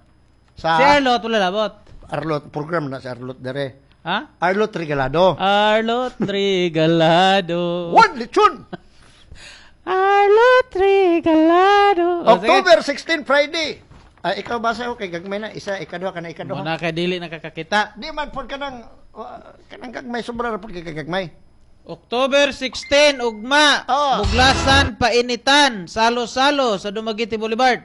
Sa Si Arlot wala labot. Arlot program na si Arlot dere. Ha? Arlot Regalado. Arlot Regalado. One lechon. Arlot Regalado. Oh, sige. October 16 Friday. Ah, ikaw ba sa okay gagmay na isa ikaduha kana ikaduha. Muna kay dili nakakakita. Di man pod kanang kanang gagmay sobra ra pod kay gagmay. October 16, ugma. Oh. Buglasan, painitan, salo-salo sa Dumaguete Boulevard.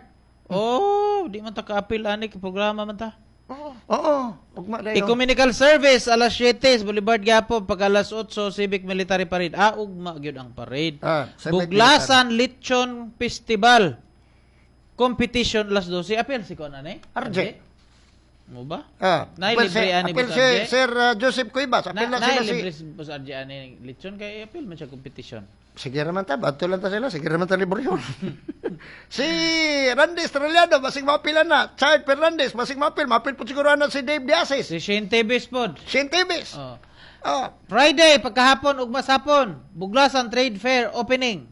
Oh, di man ta kaapil ani kay programa man ta. Oo, ugma dayon. Ecumenical Service alas 7 sa Boulevard gyapon pag alas 8 Civic Military Parade. Ah, ugma gyud ang parade. Ah, Civic Buglasan Lechon Festival. Competition alas 12. Apil si Conan eh. RJ. Mo ba? Ah, Nay apil si, libre ani apil Boss si RJ. Sir Joseph Cuevas, apil na, Na, sila nay si libre si Boss RJ ani lechon kay apil man siya competition. Sige raman ta, adto lang ta sila, sige raman ta libre yun. Si Randy Estrellado, basig maapila na. Chard Fernandez, basig maapil. Maapil po siguro na si Dave Diasis. Si Shane Tevez pod. Shane Tevez. Oh. Ah. Friday, pagkahapon, ugma sapon, Buglasan Trade Fair opening.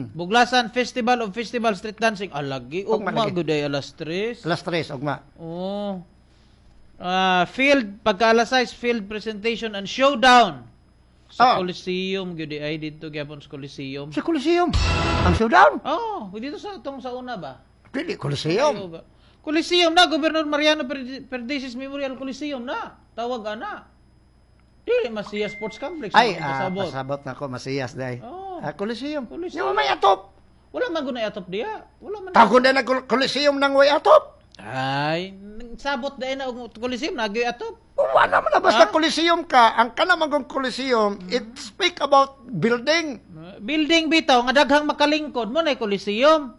Buglasan Festival of Festival Street Dancing. Alagi, Ugma ugma, lagi. good day, alas 3. Alas 3, ugma. Oh. Ah, field, pagka alas 6, field presentation and showdown. Sa Coliseum, good ay dito gyapon sa Coliseum. Sa Coliseum? Ang showdown? Oh, dito sa tong sa una ba? Dili, Coliseum. Ayaw ba? Coliseum na, Governor Mariano Perdices Memorial Coliseum na. Tawag ana. Dili Masiya Sports Complex. Ay, Ang pasabot. pasabot na ko, masiyas day. Oh. Ah, Coliseum. Coliseum. Yung may atop. Wala man gunay atop diya. Wala man. Tagon na na Coliseum ng way atop. Ay, sabot dahil na og Coliseum nagyoy atop. Wala man na basta Coliseum ka. Ang kanamagong Coliseum, it speak about building. Building bitaw nga daghang makalingkod mo na Coliseum.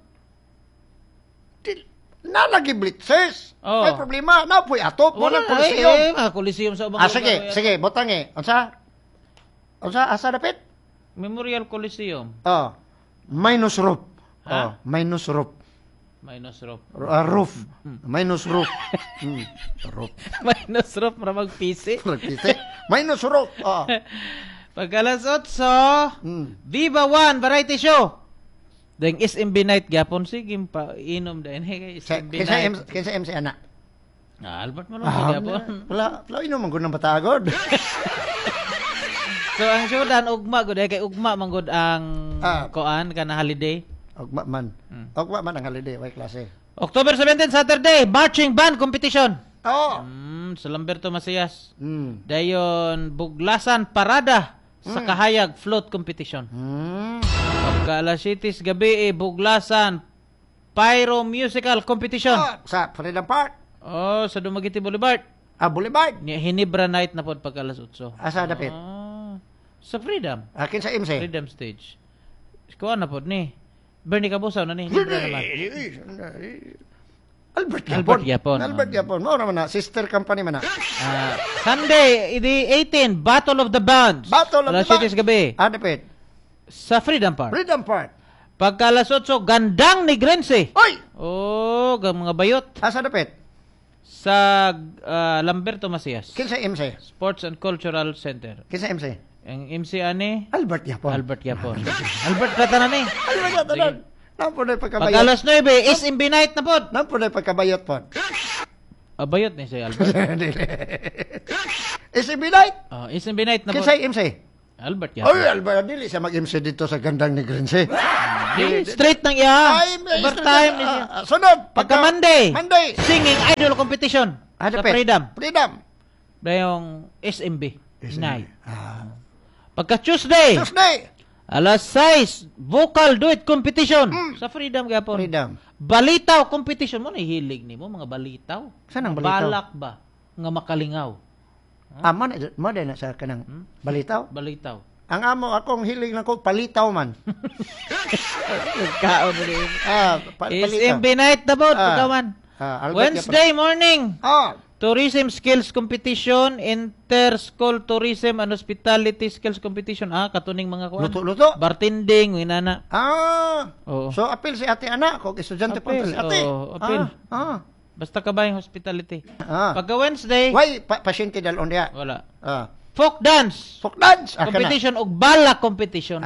Nalagi blitzes. Oh. May problema. Napoy atop. Wala Wala Coliseum. Eh, mga Coliseum sa ubang Ah, lugar, sige, way sige, butang eh. Unsa? Unsa asa dapit? Memorial Coliseum. Oh. Minus roof. Ha? Oh, minus roof. Minus roof. Roof. Minus roof. Roof. Minus roof para mag-PC. Mag-PC. Minus roof. Oh. Pag alas 8, Viva One Variety Show. Dahil SMB Night gyapon sige pa inom dahil kay SMB Kinsa Night. M kinsa MC ana? Ah, Albert mo Ah, gyapon. wala, wala inom man gud ng batagod. So ang showdown ugma gud kay ugma man gud ang koan kana holiday. Ugma man. Ugma man ang holiday way klase. October 17 Saturday, marching band competition. Oh. Sa Lamberto Macias. Dayon Buglasan Parada sa Kahayag Float Competition. Pagka alas 7 gabi eh, Buglasan Pyro Musical Competition. Sa Freedom Park. Oh, sa Dumaguete Boulevard. Ah, Boulevard. Hinibra night na pod pagka alas 8. Asa dapit? Ah, sa Freedom. Ah, kinsa MC? Freedom Stage. Kuha na pod ni. Bernie Cabusaw na ni. Hinibra naman. Albert Yapon. Albert Yapon. Albert Yapon. Mao ra man na sister company man na. Ah, Sunday, the 18, Battle of the Bands. Battle of Alas the Bands. 7 gabi. Ah, dapit. Sa Freedom Park. Freedom Park. Pagka alas 8, Gandang Negrense. Oy! Oh, mga bayot. Asa dapit? Sa Lamberto Macias. Kinsa MC? Sports and Cultural Center. Kinsa MC? Ang MC ani? Albert Yapon. Albert Yapon. Albert Platanan ni. Albert Platanan. Nampo na pagkabayot. Pag alas 9, SMB night na pod. Nampo na pagkabayot pod. Bayot ni si Albert. SMB night? Oh, SMB night na pod. Kinsa MC? Albert Yapon. Oy, Albert, dili siya mag-MC dito sa Gandang Negrense. Straight nang iya. Overtime ni siya. Sunod. Pagka Monday. Monday. Singing Idol Competition. Sa Freedom. Freedom. Dayong SMB night. Pagka Tuesday. Tuesday. Alas 6, vocal duet competition. Sa Freedom gyapon. Freedom. Balitaw competition mo nahilig nimo mga balitaw. Saan ang balitaw? Balak ba nga makalingaw? Ah, mo na sa kanang balitaw? Balitaw. Ang amo akong hilig na ko palitaw man. Kaon mo din. Palitaw. SMB night na po, pagka man. Wednesday morning. Tourism skills competition, inter-school tourism and hospitality skills competition. Katuning mga kuan. Luto-luto. Bartending, winana. Oo. So apil si ate ana kog estudyante po si ate. Oo, apil. Basta ka ba yung hospitality? Pagka Wednesday, Why pasyente dalon diha? Wala. Folk dance. Folk dance. Competition og balak competition.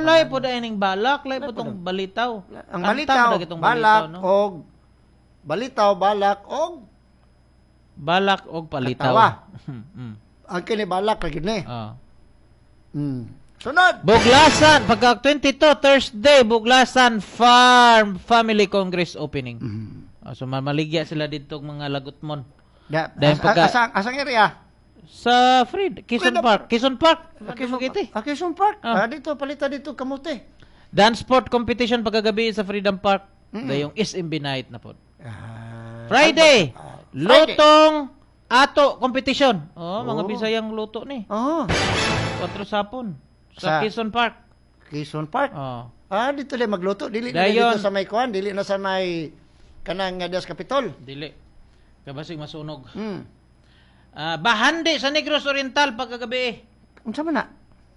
Lay po daining balak, lay po tong balitaw. Ang balitaw, balak no? og balitaw, balak og balak og palitaw. Katawa. Ang kini balak lagi ni. Sunod. Buglasan pagka 22 Thursday, Buglasan Farm Family Congress opening. So mamaligya sila dito mga lagutmon. Asang area? Sa Quezon Park. Quezon Park. Quezon Park. Dito palita dito kamote. Dance sport competition pagkagabi sa Freedom Park. Dayong SMB night na po. Friday. Lutong ato competition. Oh, mga Bisayang luto ni. Oh. 4 sapon sa Quezon Park. Quezon Park. Oh. Dito lang magluto, dili na dito sa may kuan, dili na sa may kanang Dias Capitol. Dili. Kabasig masunog. Bahandi sa Negros Oriental pagkagabi. Unsa man na?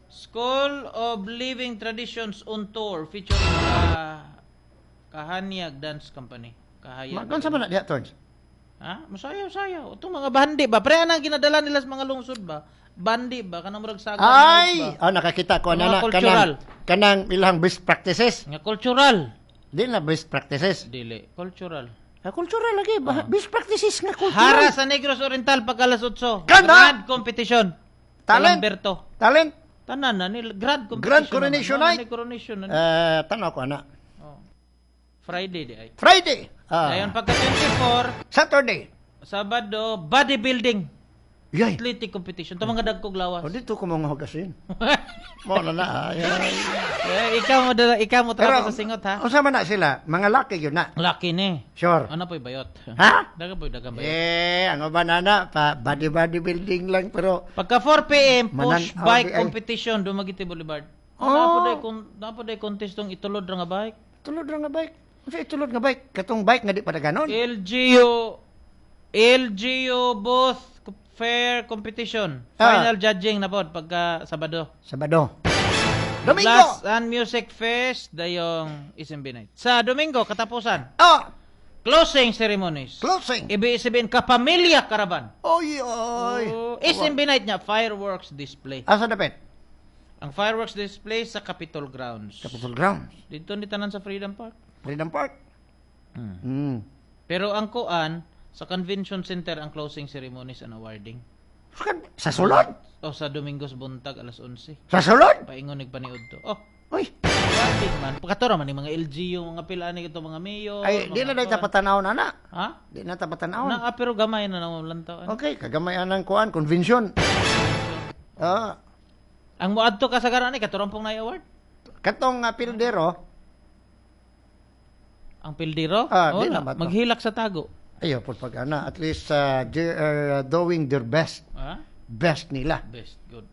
School of Living Traditions on Tour featuring Kahanyag Dance Company. Kahayag. Unsa man na diha, Torns? Ha? Masayaw-sayaw. Itong mga bandi ba? Pre, anang ginadala nila sa mga lungsod ba? Bandi ba? Kanang murag saga. Ay! Oh, nakakita ko na na. Kanang ilang best practices. Nga cultural. Di na best practices. Dili. Cultural. Cultural lagi. Best practices nga cultural. Hara sa Negros Oriental pagka alas 8. Kana! Grand competition. Talent. Lamberto. Talent. Tanan na nila. Grand competition. Grand coronation night. Coronation. Tanaw ko ana. Friday di ay. Friday. Dayon pagka 24. Saturday. Sabado, bodybuilding. Yay. Athletic competition. Ito mga dagkog lawas. O dito ko mga hugasin. Mo na na. Ay, ay. Ikaw mo trapo sa singot ha. Unsa man na sila? Mga laki yun na. Laki ni. Sure. Ano po'y bayot? Ha? Daga po'y dagang bayot. Eh, ang banana pa bodybuilding lang pero pagka 4 PM push bike competition Dumaguete Boulevard. Oh. Napo day contest tong itulod ra nga bike. Tulod ra nga bike. Unsa itulod nga bike? Katong bike nga di pa ganon. LGU Both Fair Competition. Final judging na pod pagka Sabado. Sabado. Domingo. Last and Music Fest dayong SMB night. Sa Domingo katapusan. Closing ceremonies. Closing. Ibig sabihin kapamilya caravan. Oy oy. Oh, SMB night niya fireworks display. Asa dapit? Ang fireworks display sa Capitol Grounds. Capitol Grounds. Dito ni tanan sa Freedom Park. Freedom Park. Pero ang kuan sa Convention Center ang closing ceremonies and awarding. Sa sulod? O sa Domingos Buntag alas 11. Sa sulod? Paingon nagpaniud to. Oh. Uy. Awarding man. Pagkatura man ni mga LGU, mga pila ni ito mga mayor. Ay, di na dahil tapatanaw na na. Ha? Di na tapatanaw. Na, pero gamay na nang lantawan. Okay, kagamay anang kuan convention. Ang moadto kasagaran ni katurampong na award. Katong pildero. Ang pildero? Di na ba to? Maghilak sa tago. Ayaw po pag ana, at least they are doing their best. Best nila. Best, good.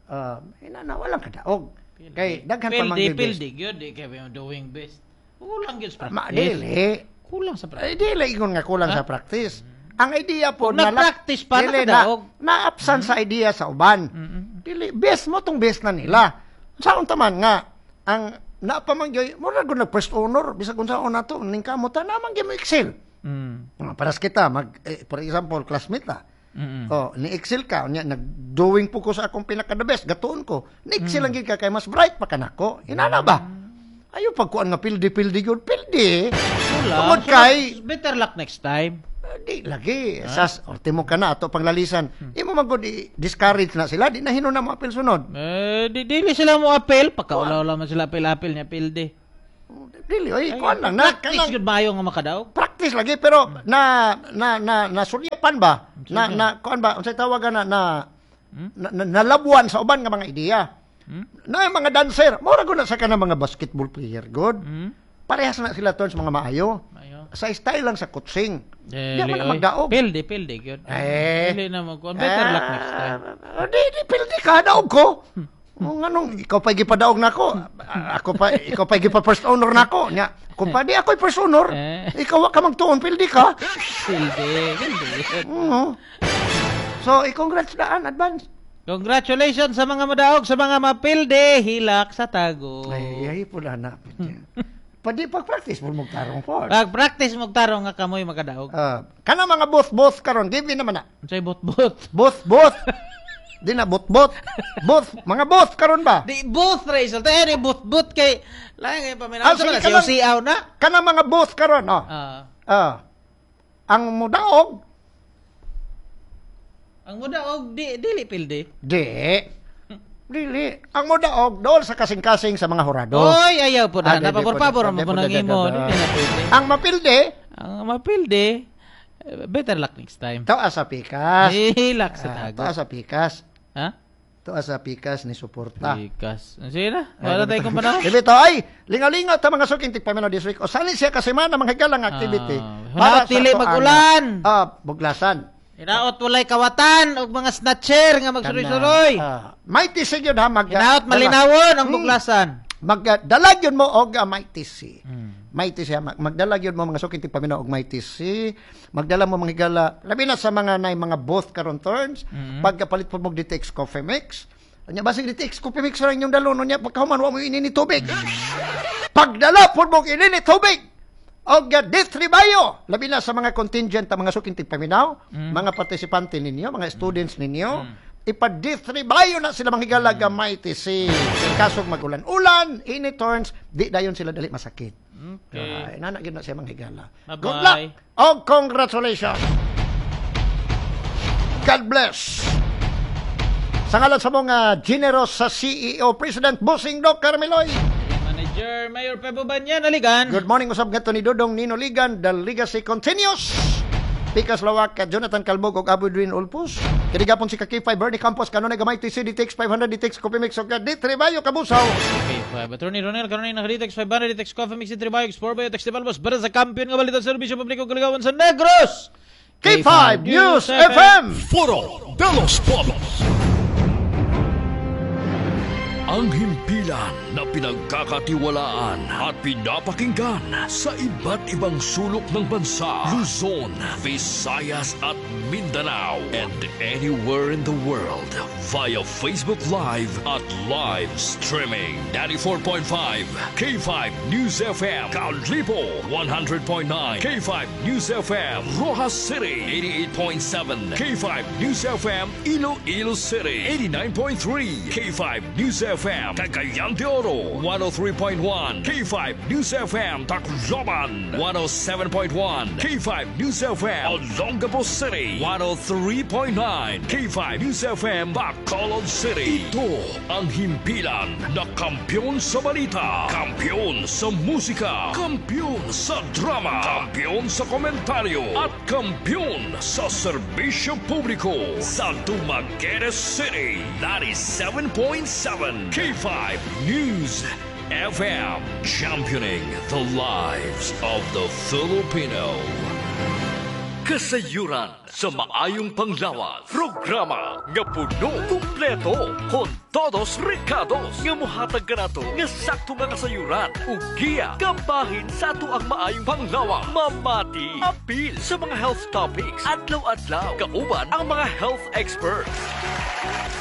Ina na walang kadaog. Kay daghan pa mang pildi gyud di kay doing best. Kulang gyud sa practice. Dili. Kulang sa practice. Ay, dili ingon nga kulang sa practice. Ang idea po na practice pa na kadaog. Na-absent sa idea sa uban. Dili best mo tong best na nila. Sa unta man nga Ang naa pa man gyud mura gud nag first honor bisag unsaon nato ning kamot ta na man gyud mo excel. Paras kita mag for example classmate ta. Oh, ni excel ka unya nag-doing po ko sa akong pinaka the best gatuon ko. Ni excel lang gyud ka kay mas bright pa kanako. Inana ba? Ayo pagkuan nga pildi-pildi gyud pildi. Tungod kay better luck next time. Di lagi sas ultimo ka na ato panglalisan. Imo man gud discourage na sila di na hinon na mo apel sunod. Di dili sila mo apel pagkaulaw man sila apel-apel niya pildi. Dili oy kuan lang na practice gud maayo nga makadaog. Practice lagi pero na na na nasulyapan ba? Na na kuan ba unsay tawagan na na nalabuan sa uban nga mga ideya. Na yung mga dancer, mura gud na sa kanang mga basketball player god. Parehas na sila turns mga maayo. Sa style lang sa coaching. Di man magdaog. Pildi gyud. Dili na mo kuan better luck next time. Di pildi ka daog ko. Nganong ikaw pa gipadaog nako. Ako pa ikaw pa gipa first honor nako. Nya kung pa di ako'y first honor, ikaw wa ka magtuon pildi ka. Pildi. So, i-congrats daan advance. Congratulations sa mga madaog, sa mga mapildi, hilak sa tago. Ay pula na. Pwede pag-practice mo magtarong po. Pag-practice magtarong nga kamoy makadaog. Kana mga both-both karon, give naman na. Unsay both-both? Both-both. Di na both-both. Both, mga both karon ba? Di both Raisel. Tayo ni both-both kay lain kay paminaw sa mga siyaw na. Kana mga both karon, oh. Ang mudaog. Ang mudaog di dili pildi. Di. Dili. Ang mudaog dool sa kasing-kasing sa mga hurado. Oy, ayaw po na. Napabor-pabor mo po nang imo. Ang mapildi. Ang mapildi. Better luck next time. Toa sa pikas. Hilak sa tago. Toa sa pikas. Ha? Toa sa pikas ni suporta. Pikas. Sige na. Wala tayong kumpanahon. Dili to. Ay, lingaw-lingaw ta mga suking tigpaminaw this week. O sali siya kasi man ang mga higalang activity. Para sa magulan. Buglasan. Hinaot walay kawatan og mga snatcher nga magsuroy-suroy. Mighty C yun ha. Hinaot malinawon ang buglasan. Magdalag yun mo og Mighty C. Mighty C. Magdalag yun mo mga suking tigpaminaw og Mighty C. Magdala mo mga higala. Labi na sa mga na mga both karon turns. Pagkapalit po mo DTX Coffee Mix. Anya basig DTX Coffee Mix ra inyong dalon niya pagkahuman wa mo inini tubig. Pagdala po mo inini tubig. Og D3 Bio, labi na sa mga contingent mga suking tigpaminaw, mga partisipante ninyo, mga students ninyo, ipa D3 Bio na sila manghigala ga Mighty C. Kasog magulan-ulan, ini turns, di dayon sila dali masakit. Okay. Inana gyud na siya manghigala. Bye-bye. Good luck og congratulations. God bless. Sa ngalan sa mga generous sa CEO President Busing Doc Carmeloy. Manager Mayor Pebo Banyan, Aligan. Good morning, usab ngadto ni Dodong Nino Ligan. The legacy continues. Pikas Lawak, Jonathan Calbog ug Abudwin Ulpus. Kini gapon si Ka-K5 Bernie Campos kanunay gamay TC DTX 500 DTX Coffee Mix ug D3 Bayo Kabusaw. K5 Attorney Ronel kanunay naka DTX 500 DTX Coffee Mix D3 Bayo Explore Bayo Tex Balbos para sa kampiyon nga balita serbisyo publiko kaligawan sa Negros. K5 News FM. Foro de los Pueblos. Ang himpilan na pinagkakatiwalaan at pinapakinggan sa iba't ibang sulok ng bansa, Luzon, Visayas at Mindanao, and anywhere in the world via Facebook Live at live streaming. 94.5 K5 News FM, Kalibo 100.9 K5 News FM, Rojas City 88.7 K5 News FM, Iloilo City 89.3 K5 News FM, Cagayan de Oro 103.1 K5 News FM, Tacloban 107.1 K5 News FM, Olongapo City 103.9 K5 News FM, Bacolod City. Ito ang himpilan na kampiyon sa balita, kampiyon sa musika, kampiyon sa drama, kampiyon sa komentaryo, at kampiyon sa serbisyo publiko sa Dumaguete City 97.7 K5 News FM, championing the lives of the Filipino. Kasayuran sa maayong panglawas. Programa nga puno, kumpleto, con todos recados nga muhatag kanato nga sakto nga kasayuran ug giya kabahin sa ato ang maayong panglawas. Mamati, apil sa mga health topics, adlaw-adlaw, kauban ang mga health experts.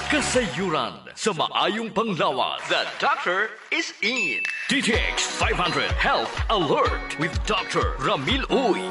Kasayuran sa maayong panglawas. The doctor is in. DTX 500 Health Alert with Dr. Ramil Uy.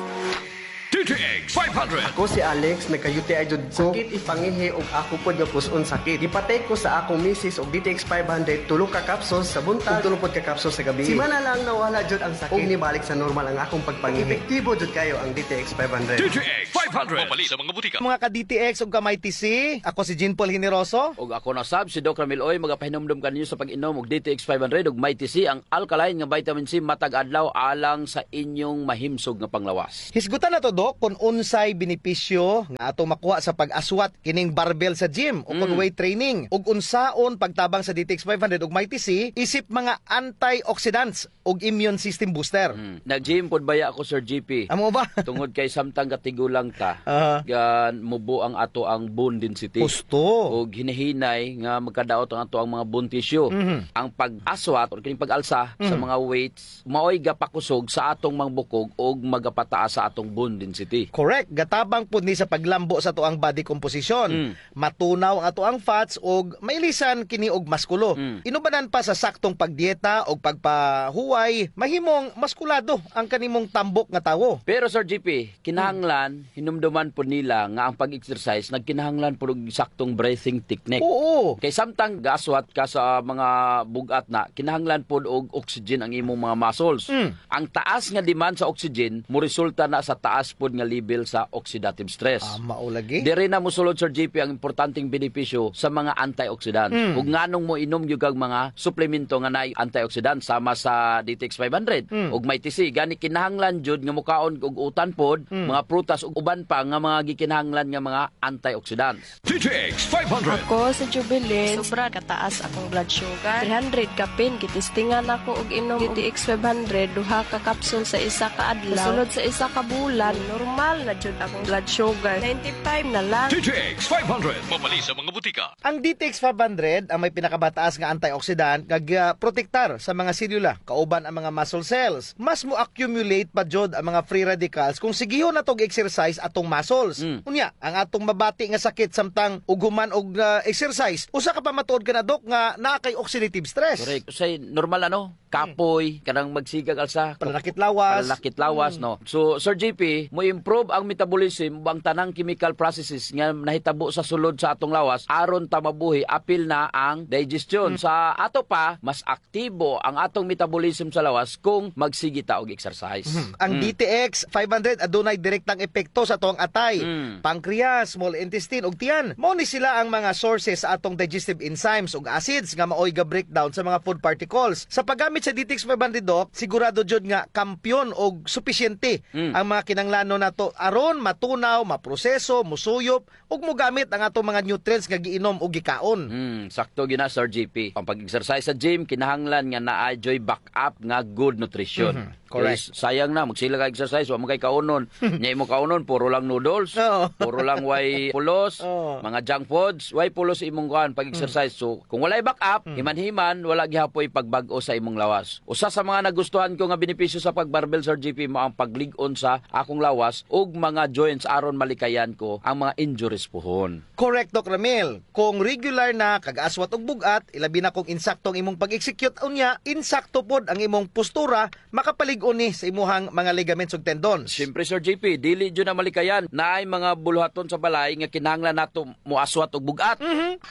DTX 500. Ako si Alex, nagka-UTI jud ko. Sakit ipangihi og ako pod nga puson sakit. Gipatay ko sa akong misis og DTX 500, tulo ka capsules sa buntag ug tulo pod ka capsules sa gabi. Simana lang nawala jud ang sakit ug nibalik sa normal ang akong pagpangihi. Epektibo jud kayo ang DTX 500. DTX 500. Mabali sa mga butika. Mga ka-DTX ug ka-Mighty C, ako si Jean Paul Generoso. Ug ako na sab si Doc Ramil Oy, magapahinumdum kaninyo sa pag-inom og DTX 500 ug Mighty C, ang alkaline nga vitamin C matag adlaw alang sa inyong mahimsog nga panglawas. Hisgutan na to, Dok, kung unsay benepisyo nga atong makuha sa pag-aswat kining barbell sa gym o kung weight training ug unsaon pagtabang sa DTX 500 ug Mighty C isip mga antioxidants ug immune system booster. Nag-gym pod baya ako, Sir GP. Amo ba? Tungod kay samtang katigulang ta, gan mubo ang ato ang bone density. Husto. Ug hinahinay nga magkadaot ang ato ang mga bone tissue. Ang pag-aswat or kining pag-alsa sa mga weights maoy gapakusog sa atong mga bukog ug magapataas sa atong bone density. Correct. Gatabang pud ni sa paglambo sa atoang body composition. Matunaw ang atoang fats ug mailisan kini og maskulo. Inubanan pa sa saktong pagdieta og pagpahuway, mahimong maskulado ang kanimong tambok nga tawo. Pero Sir GP, kinahanglan hinumduman po nila nga ang pag-exercise nagkinahanglan pud og saktong breathing technique. Oo. Kay samtang gaswat ka sa mga bugat na, kinahanglan pud og oxygen ang imong mga muscles. Ang taas nga demand sa oxygen mo resulta na sa taas pud nga level sa oxidative stress. Mao lagi. Diri na mosulod, Sir GP, ang importanteng benepisyo sa mga antioxidants. Ug nganong mo inom gyud kag mga suplemento nga naay antioxidant sama sa DTX 500 ug Mighty C. Gani kinahanglan jud nga mukaon og utan pod, mga prutas ug uban pa nga mga gikinahanglan nga mga antioxidants. DTX 500. Ako sa Jubilee, sobra kataas akong blood sugar. 300 kapin, gitistingan ako og inom DTX 500, duha ka kapsul sa isa ka adlaw. Sulod sa isa ka bulan, normal na jud akong blood sugar. 95 na lang. DTX 500. Mabali sa mga butika. Ang DTX 500 ang may pinakamataas nga antioxidant kag protektar sa mga selula kauban ang mga muscle cells. Mas mo accumulate pa jud ang mga free radicals kung sigihon na tog exercise atong muscles. Unya, ang atong mabati nga sakit samtang uguman og exercise, usa ka pa matuod ka na, Dok, nga naa kay oxidative stress. Correct. Usay normal ano, kapoy, kanang magsigag alsa, pananakit lawas. Pananakit lawas, no. So Sir JP, mo improve ang metabolism ang tanang chemical processes nga nahitabo sa sulod sa atong lawas aron ta mabuhi apil na ang digestion. Sa ato pa, mas aktibo ang atong metabolism sa lawas kung magsige ta og exercise. Ang DTX 500 adunay direktang epekto sa atong atay, pancreas, small intestine ug tiyan. Mao ni sila ang mga sources sa atong digestive enzymes ug acids nga maoy ga breakdown sa mga food particles. Sa paggamit sa DTX 500, Doc, sigurado jud nga kampiyon og sufisyente ang mga kinanglano nato aron matunaw, maproseso, musuyop ug mogamit ang atong mga nutrients nga giinom ug gikaon. Sakto gina, Sir GP. Ang pag-exercise sa gym kinahanglan nga naa joy backup nga good nutrition. Correct. Kay sayang na magsila ka exercise wa man kay kaunon. Nya imo kaunon puro lang noodles, puro lang way pulos, mga junk foods, way pulos imong kuan pag-exercise. So kung walay backup, himan-himan wala gihapoy pagbag-o sa imong lawas. Usa sa mga nagustuhan ko nga benepisyo sa pagbarbell, Sir GP, mo ang paglig-on sa akong lawas ug mga joints aron malikayan ko ang mga injuries puhon. Correct, Doc Ramil. Kung regular na kag-aswat og bugat, ilabi na kung insakto ang imong pag-execute unya, insakto pod ang imong postura, makapalig-on ni sa imuhang mga ligaments ug tendons. Siyempre, Sir JP, dili jud na malikayan. Naay mga buluhaton sa balay nga kinahanglan nato moaswat og bugat.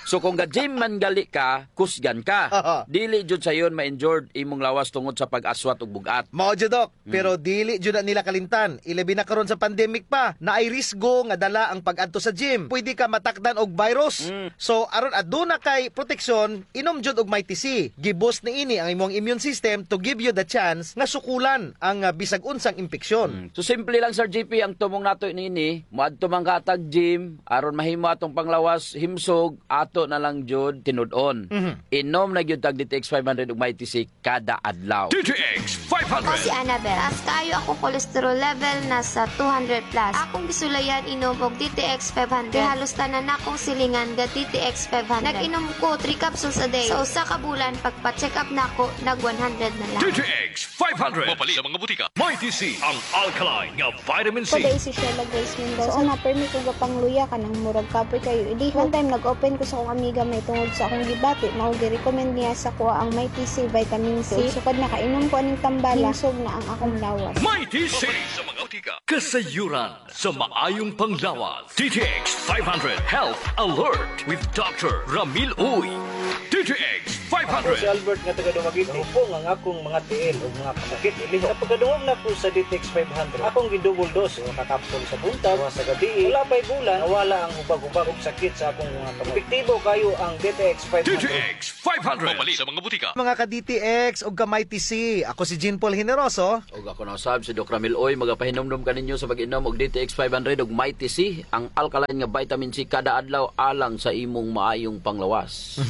So kung ga-gym man gali ka, kusgan ka. Dili jud sayon ma-injured imong lawas tungod sa pag-aswat og bugat. Mao jud, Doc, pero dili jud na nila kalimtan. Ilabi na karon sa pandemic pa, naay risgo nga dala ang pag-adto sa gym. Pwede ka matakdan og virus. So aron aduna kay proteksyon, inom jud og Mighty C. Giboost niini ang imong immune system to give you the chance nga sukulan Masuldan ang bisag unsang impeksyon. So simple lang, Sir GP, ang tumong nato niini, moadto man katag gym aron mahimo atong panglawas himsog, ato na lang jud tinud-on. Inom na gyud tag DTX 500 ug Mighty C kada adlaw. DTX 500. Ako si Annabel. Taas kaayo ako cholesterol level nasa 200 plus. Akong gisulayan inom og DTX 500. Kay halos tanan akong silingan ga DTX 500. Nag-inom ko 3 capsules a day. Sa usa ka bulan pagpa-check up nako nag 100 na lang. DTX 500. Mapalit sa mga butika. Mighty C, ang alkaline nga vitamin C. Ko si Sheila Grace Mendoza. So una permi ko gapangluya kanang murag kapoy kayo. Idi one time nag-open ko sa akong amiga may tungod sa akong gibati, mao gi-recommend niya sa kuha ang Mighty C vitamin C. Sukad nakainom ko aning tambala, himsog na ang akong lawas. Mighty C sa mga butika. Kasayuran sa maayong panglawas. DTX 500 Health Alert with Dr. Ramil Uy. DTX Ako si 500. Albert nga taga Dumaguete. Hupong ang akong mga tiil ug mga kasakit ilihok. Sa pagkadungog nako sa DTX 500, akong gidouble dose usa ka kapsul sa buntag, duha sa gabi. Wala pay bulan, nawala ang hubag-hubag ug sakit sa akong mga kamot. Epektibo kayo ang DTX 500. DTX 500. Mapalit sa mga butika. Mga ka-DTX ug ka-Mighty C, ako si Jean Paul Generoso. Og ako na usab si Doc Ramil Oy, magapahinomdom kaninyo sa pag-inom og DTX 500 ug Mighty C, ang alkaline nga vitamin C kada adlaw alang sa imong maayong panglawas.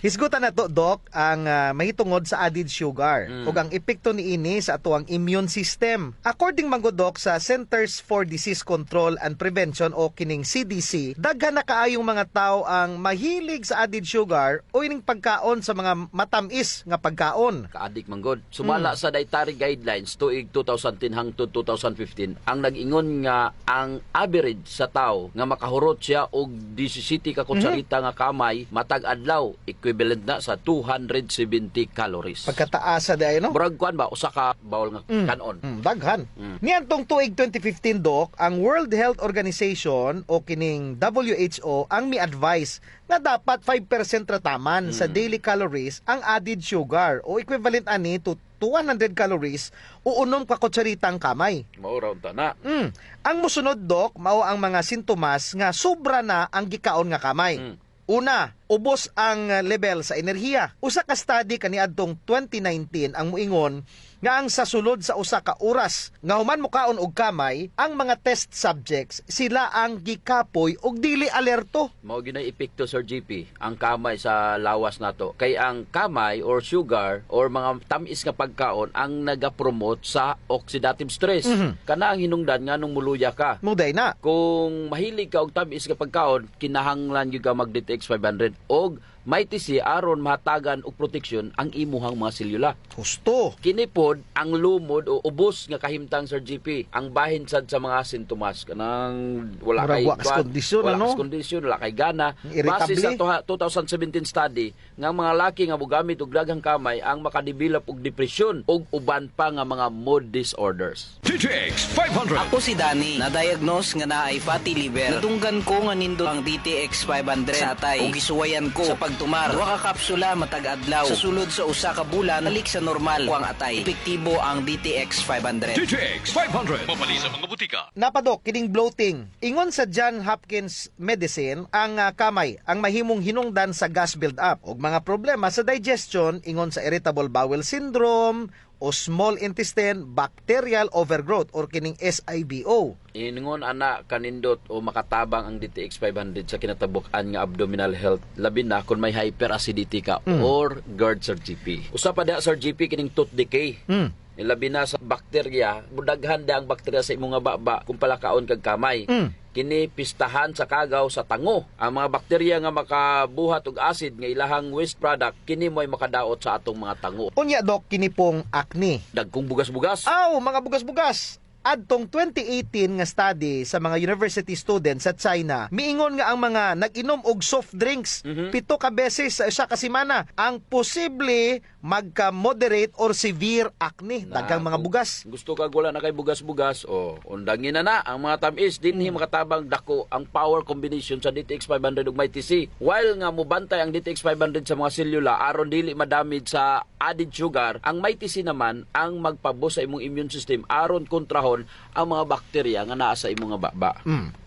Hisgutan na to, Doc, ang mahitungod sa added sugar ug ang epekto niini sa atoang immune system. According man gud, Doc, sa Centers for Disease Control and Prevention o kining CDC, daghan na kaayong mga tao ang mahilig sa added sugar o ining pagkaon sa mga matamis nga pagkaon. Kaadik man gud. Sumala sa dietary guidelines tuig 2010 hangtod 2015, ang nag-ingon nga ang average sa tao nga makahurot siya og 17 ka kutsarita nga kamay matag adlaw, equivalent na sa 270 calories. Pagkataasa di ay, no? Murag kuan ba usa ka bowl nga kanon. Daghan. Niadtong tuig 2015, Doc, ang World Health Organization o kining WHO ang mi-advise nga dapat 5% rataman sa daily calories ang added sugar o equivalent ani to 100 calories o 6 ka kutsaritang kamay. Mao ra unta na. Ang musunod, Doc, mao ang mga sintomas nga sobra na ang gikaon nga kamay. Una, ubos ang level sa enerhiya. Usa ka study kaniadtong 2019 ang muingon nga ang sa sulod sa usa ka oras nga human mokaon og kamay, ang mga test subjects sila ang gikapoy og dili alerto. Mao ginay epekto, Sir GP, ang kamay sa lawas nato. Kay ang kamay or sugar or mga tamis nga pagkaon ang naga-promote sa oxidative stress. Kana ang hinungdan nga nung muluya ka. Muday na. Kung mahilig ka og tamis nga pagkaon, kinahanglan gyud ka mag DTX 500 og Mighty C aron mahatagan og proteksyon ang imuhang mga selula. Husto. Kini pod ang lumod o ubos nga kahimtang, Sir GP, ang bahin sad sa mga sintomas kanang wala Murag kay wa kas kondisyon, wala ano? kas kondisyon, wala kay gana. Irritable. Base sa 2017 study nga ang mga laki nga mogamit og daghang kamay ang makadevelop og depression ug uban pa nga mga mood disorders. DTX 500. Ako si Danny, na-diagnose nga naay fatty liver. Nadunggan ko nga nindot ang DTX 500 sa atay ug gisuwayan ko sa pagtumar. Duha ka kapsula matag adlaw. Sa sulod sa usa ka bulan, balik sa normal ko ang atay. Epektibo ang DTX 500. DTX 500. Mapalit sa mga butika. Napadok kining bloating. Ingon sa John Hopkins Medicine, ang kamay ang mahimong hinungdan sa gas build-up ug mga problema sa digestion ingon sa irritable bowel syndrome o small intestine bacterial overgrowth or kining SIBO. Ingon ana kanindot o makatabang ang DTX 500 sa kinatabok-an nga abdominal health, labi na kung may hyperacidity ka or GERD, Sir GP. Usa pa diha, Sir GP, kining tooth decay. Labi na sa bakterya, mudaghan da ang bakterya sa imong nga baba kung palakaon kag kamay. Kini pistahan sa kagaw sa tango. Ang mga bakterya nga makabuhat og acid nga ilahang waste product, kini mo'y makadaot sa atong mga tango. Unya, Dok, kini pong acne. Dagkong bugas-bugas. Aw, mga bugas-bugas. Adtong 2018 nga study sa mga university students sa China, miingon nga ang mga nag-inom og soft drinks 7 ka beses sa isa ka semana ang posible magka-moderate or severe acne, daghang mga bugas. Gusto ka wala na kay bugas-bugas, o undangin na na ang mga tamis dinhi makatabang dako ang power combination sa DTX 500 ug Mighty C. While nga mobantay ang DTX 500 sa mga selula aron dili madamage sa added sugar, ang Mighty C naman ang magpaboost sa imong immune system aron kontrahon ang mga bakterya nga naa sa imong nga baba.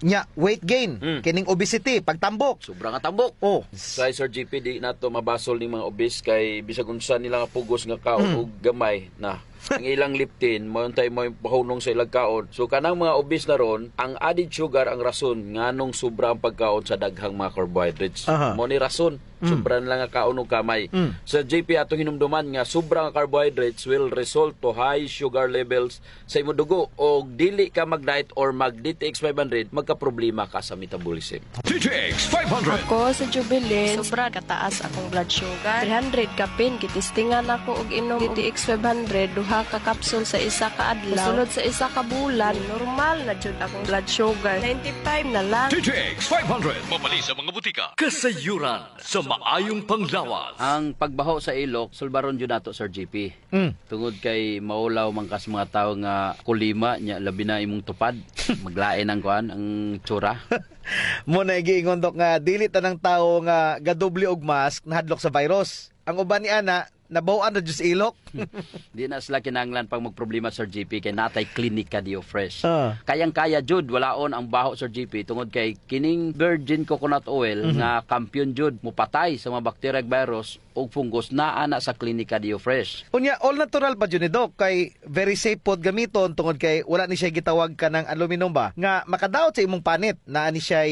Nya, weight gain, kining obesity, pagtambok. Sobra nga tambok. Oh. Sa Sir GP, di nato mabasol ning mga obese kay bisag unsa nila nga pugos nga kaon og gamay na. Ang ilang leptin mo untay mo pahunong sa ilang kaon. So kanang mga obese na ron, ang added sugar ang rason nganong sobra ang pagkaon sa daghang mga carbohydrates. Mo ni rason. Sobra na lang ang kaon og kamay. Sa JP, atong hinumduman nga sobra ang carbohydrates will result to high sugar levels sa imong dugo, og dili ka mag-diet or mag DTX 500, magka-problema ka sa metabolism. DTX 500. Ako sa Jubilin, sobra kataas akong blood sugar. 300 kapin, gitistingan ako og inom DTX 500, duha ka kapsul sa isa ka adlaw. Sulod sa isa ka bulan, normal na jud akong blood sugar. 95 na lang. DTX 500. Mapali sa mga butika. Kasayuran sa maayong panglawas. Ang pagbaho sa ilok, sulbaron jud nato, Sir JP. Tungod kay maulaw man kas mga tao nga kulima nya, labi na imong tupad, maglain ang kuan, ang tsura. Mo na giingon, Dok, nga dili tanang tao nga gadoble og mask nahadlok sa virus. Ang uban ni ana nabaw-an na jud sa ilok. Di na sila kinahanglan pang magproblema, Sir JP, kay natay Klinika Dio Fresh. Kayang-kaya jud walaon ang baho, Sir JP, tungod kay kining virgin coconut oil nga kampiyon jud mupatay sa mga bacteria, virus ug fungus naa na sa Klinika Dio Fresh. Unya, all natural pa jud ni, Dok, kay very safe pod gamiton tungod kay wala ni siya gitawag ka ng aluminum ba nga makadaot sa imong panit, naa ni siya.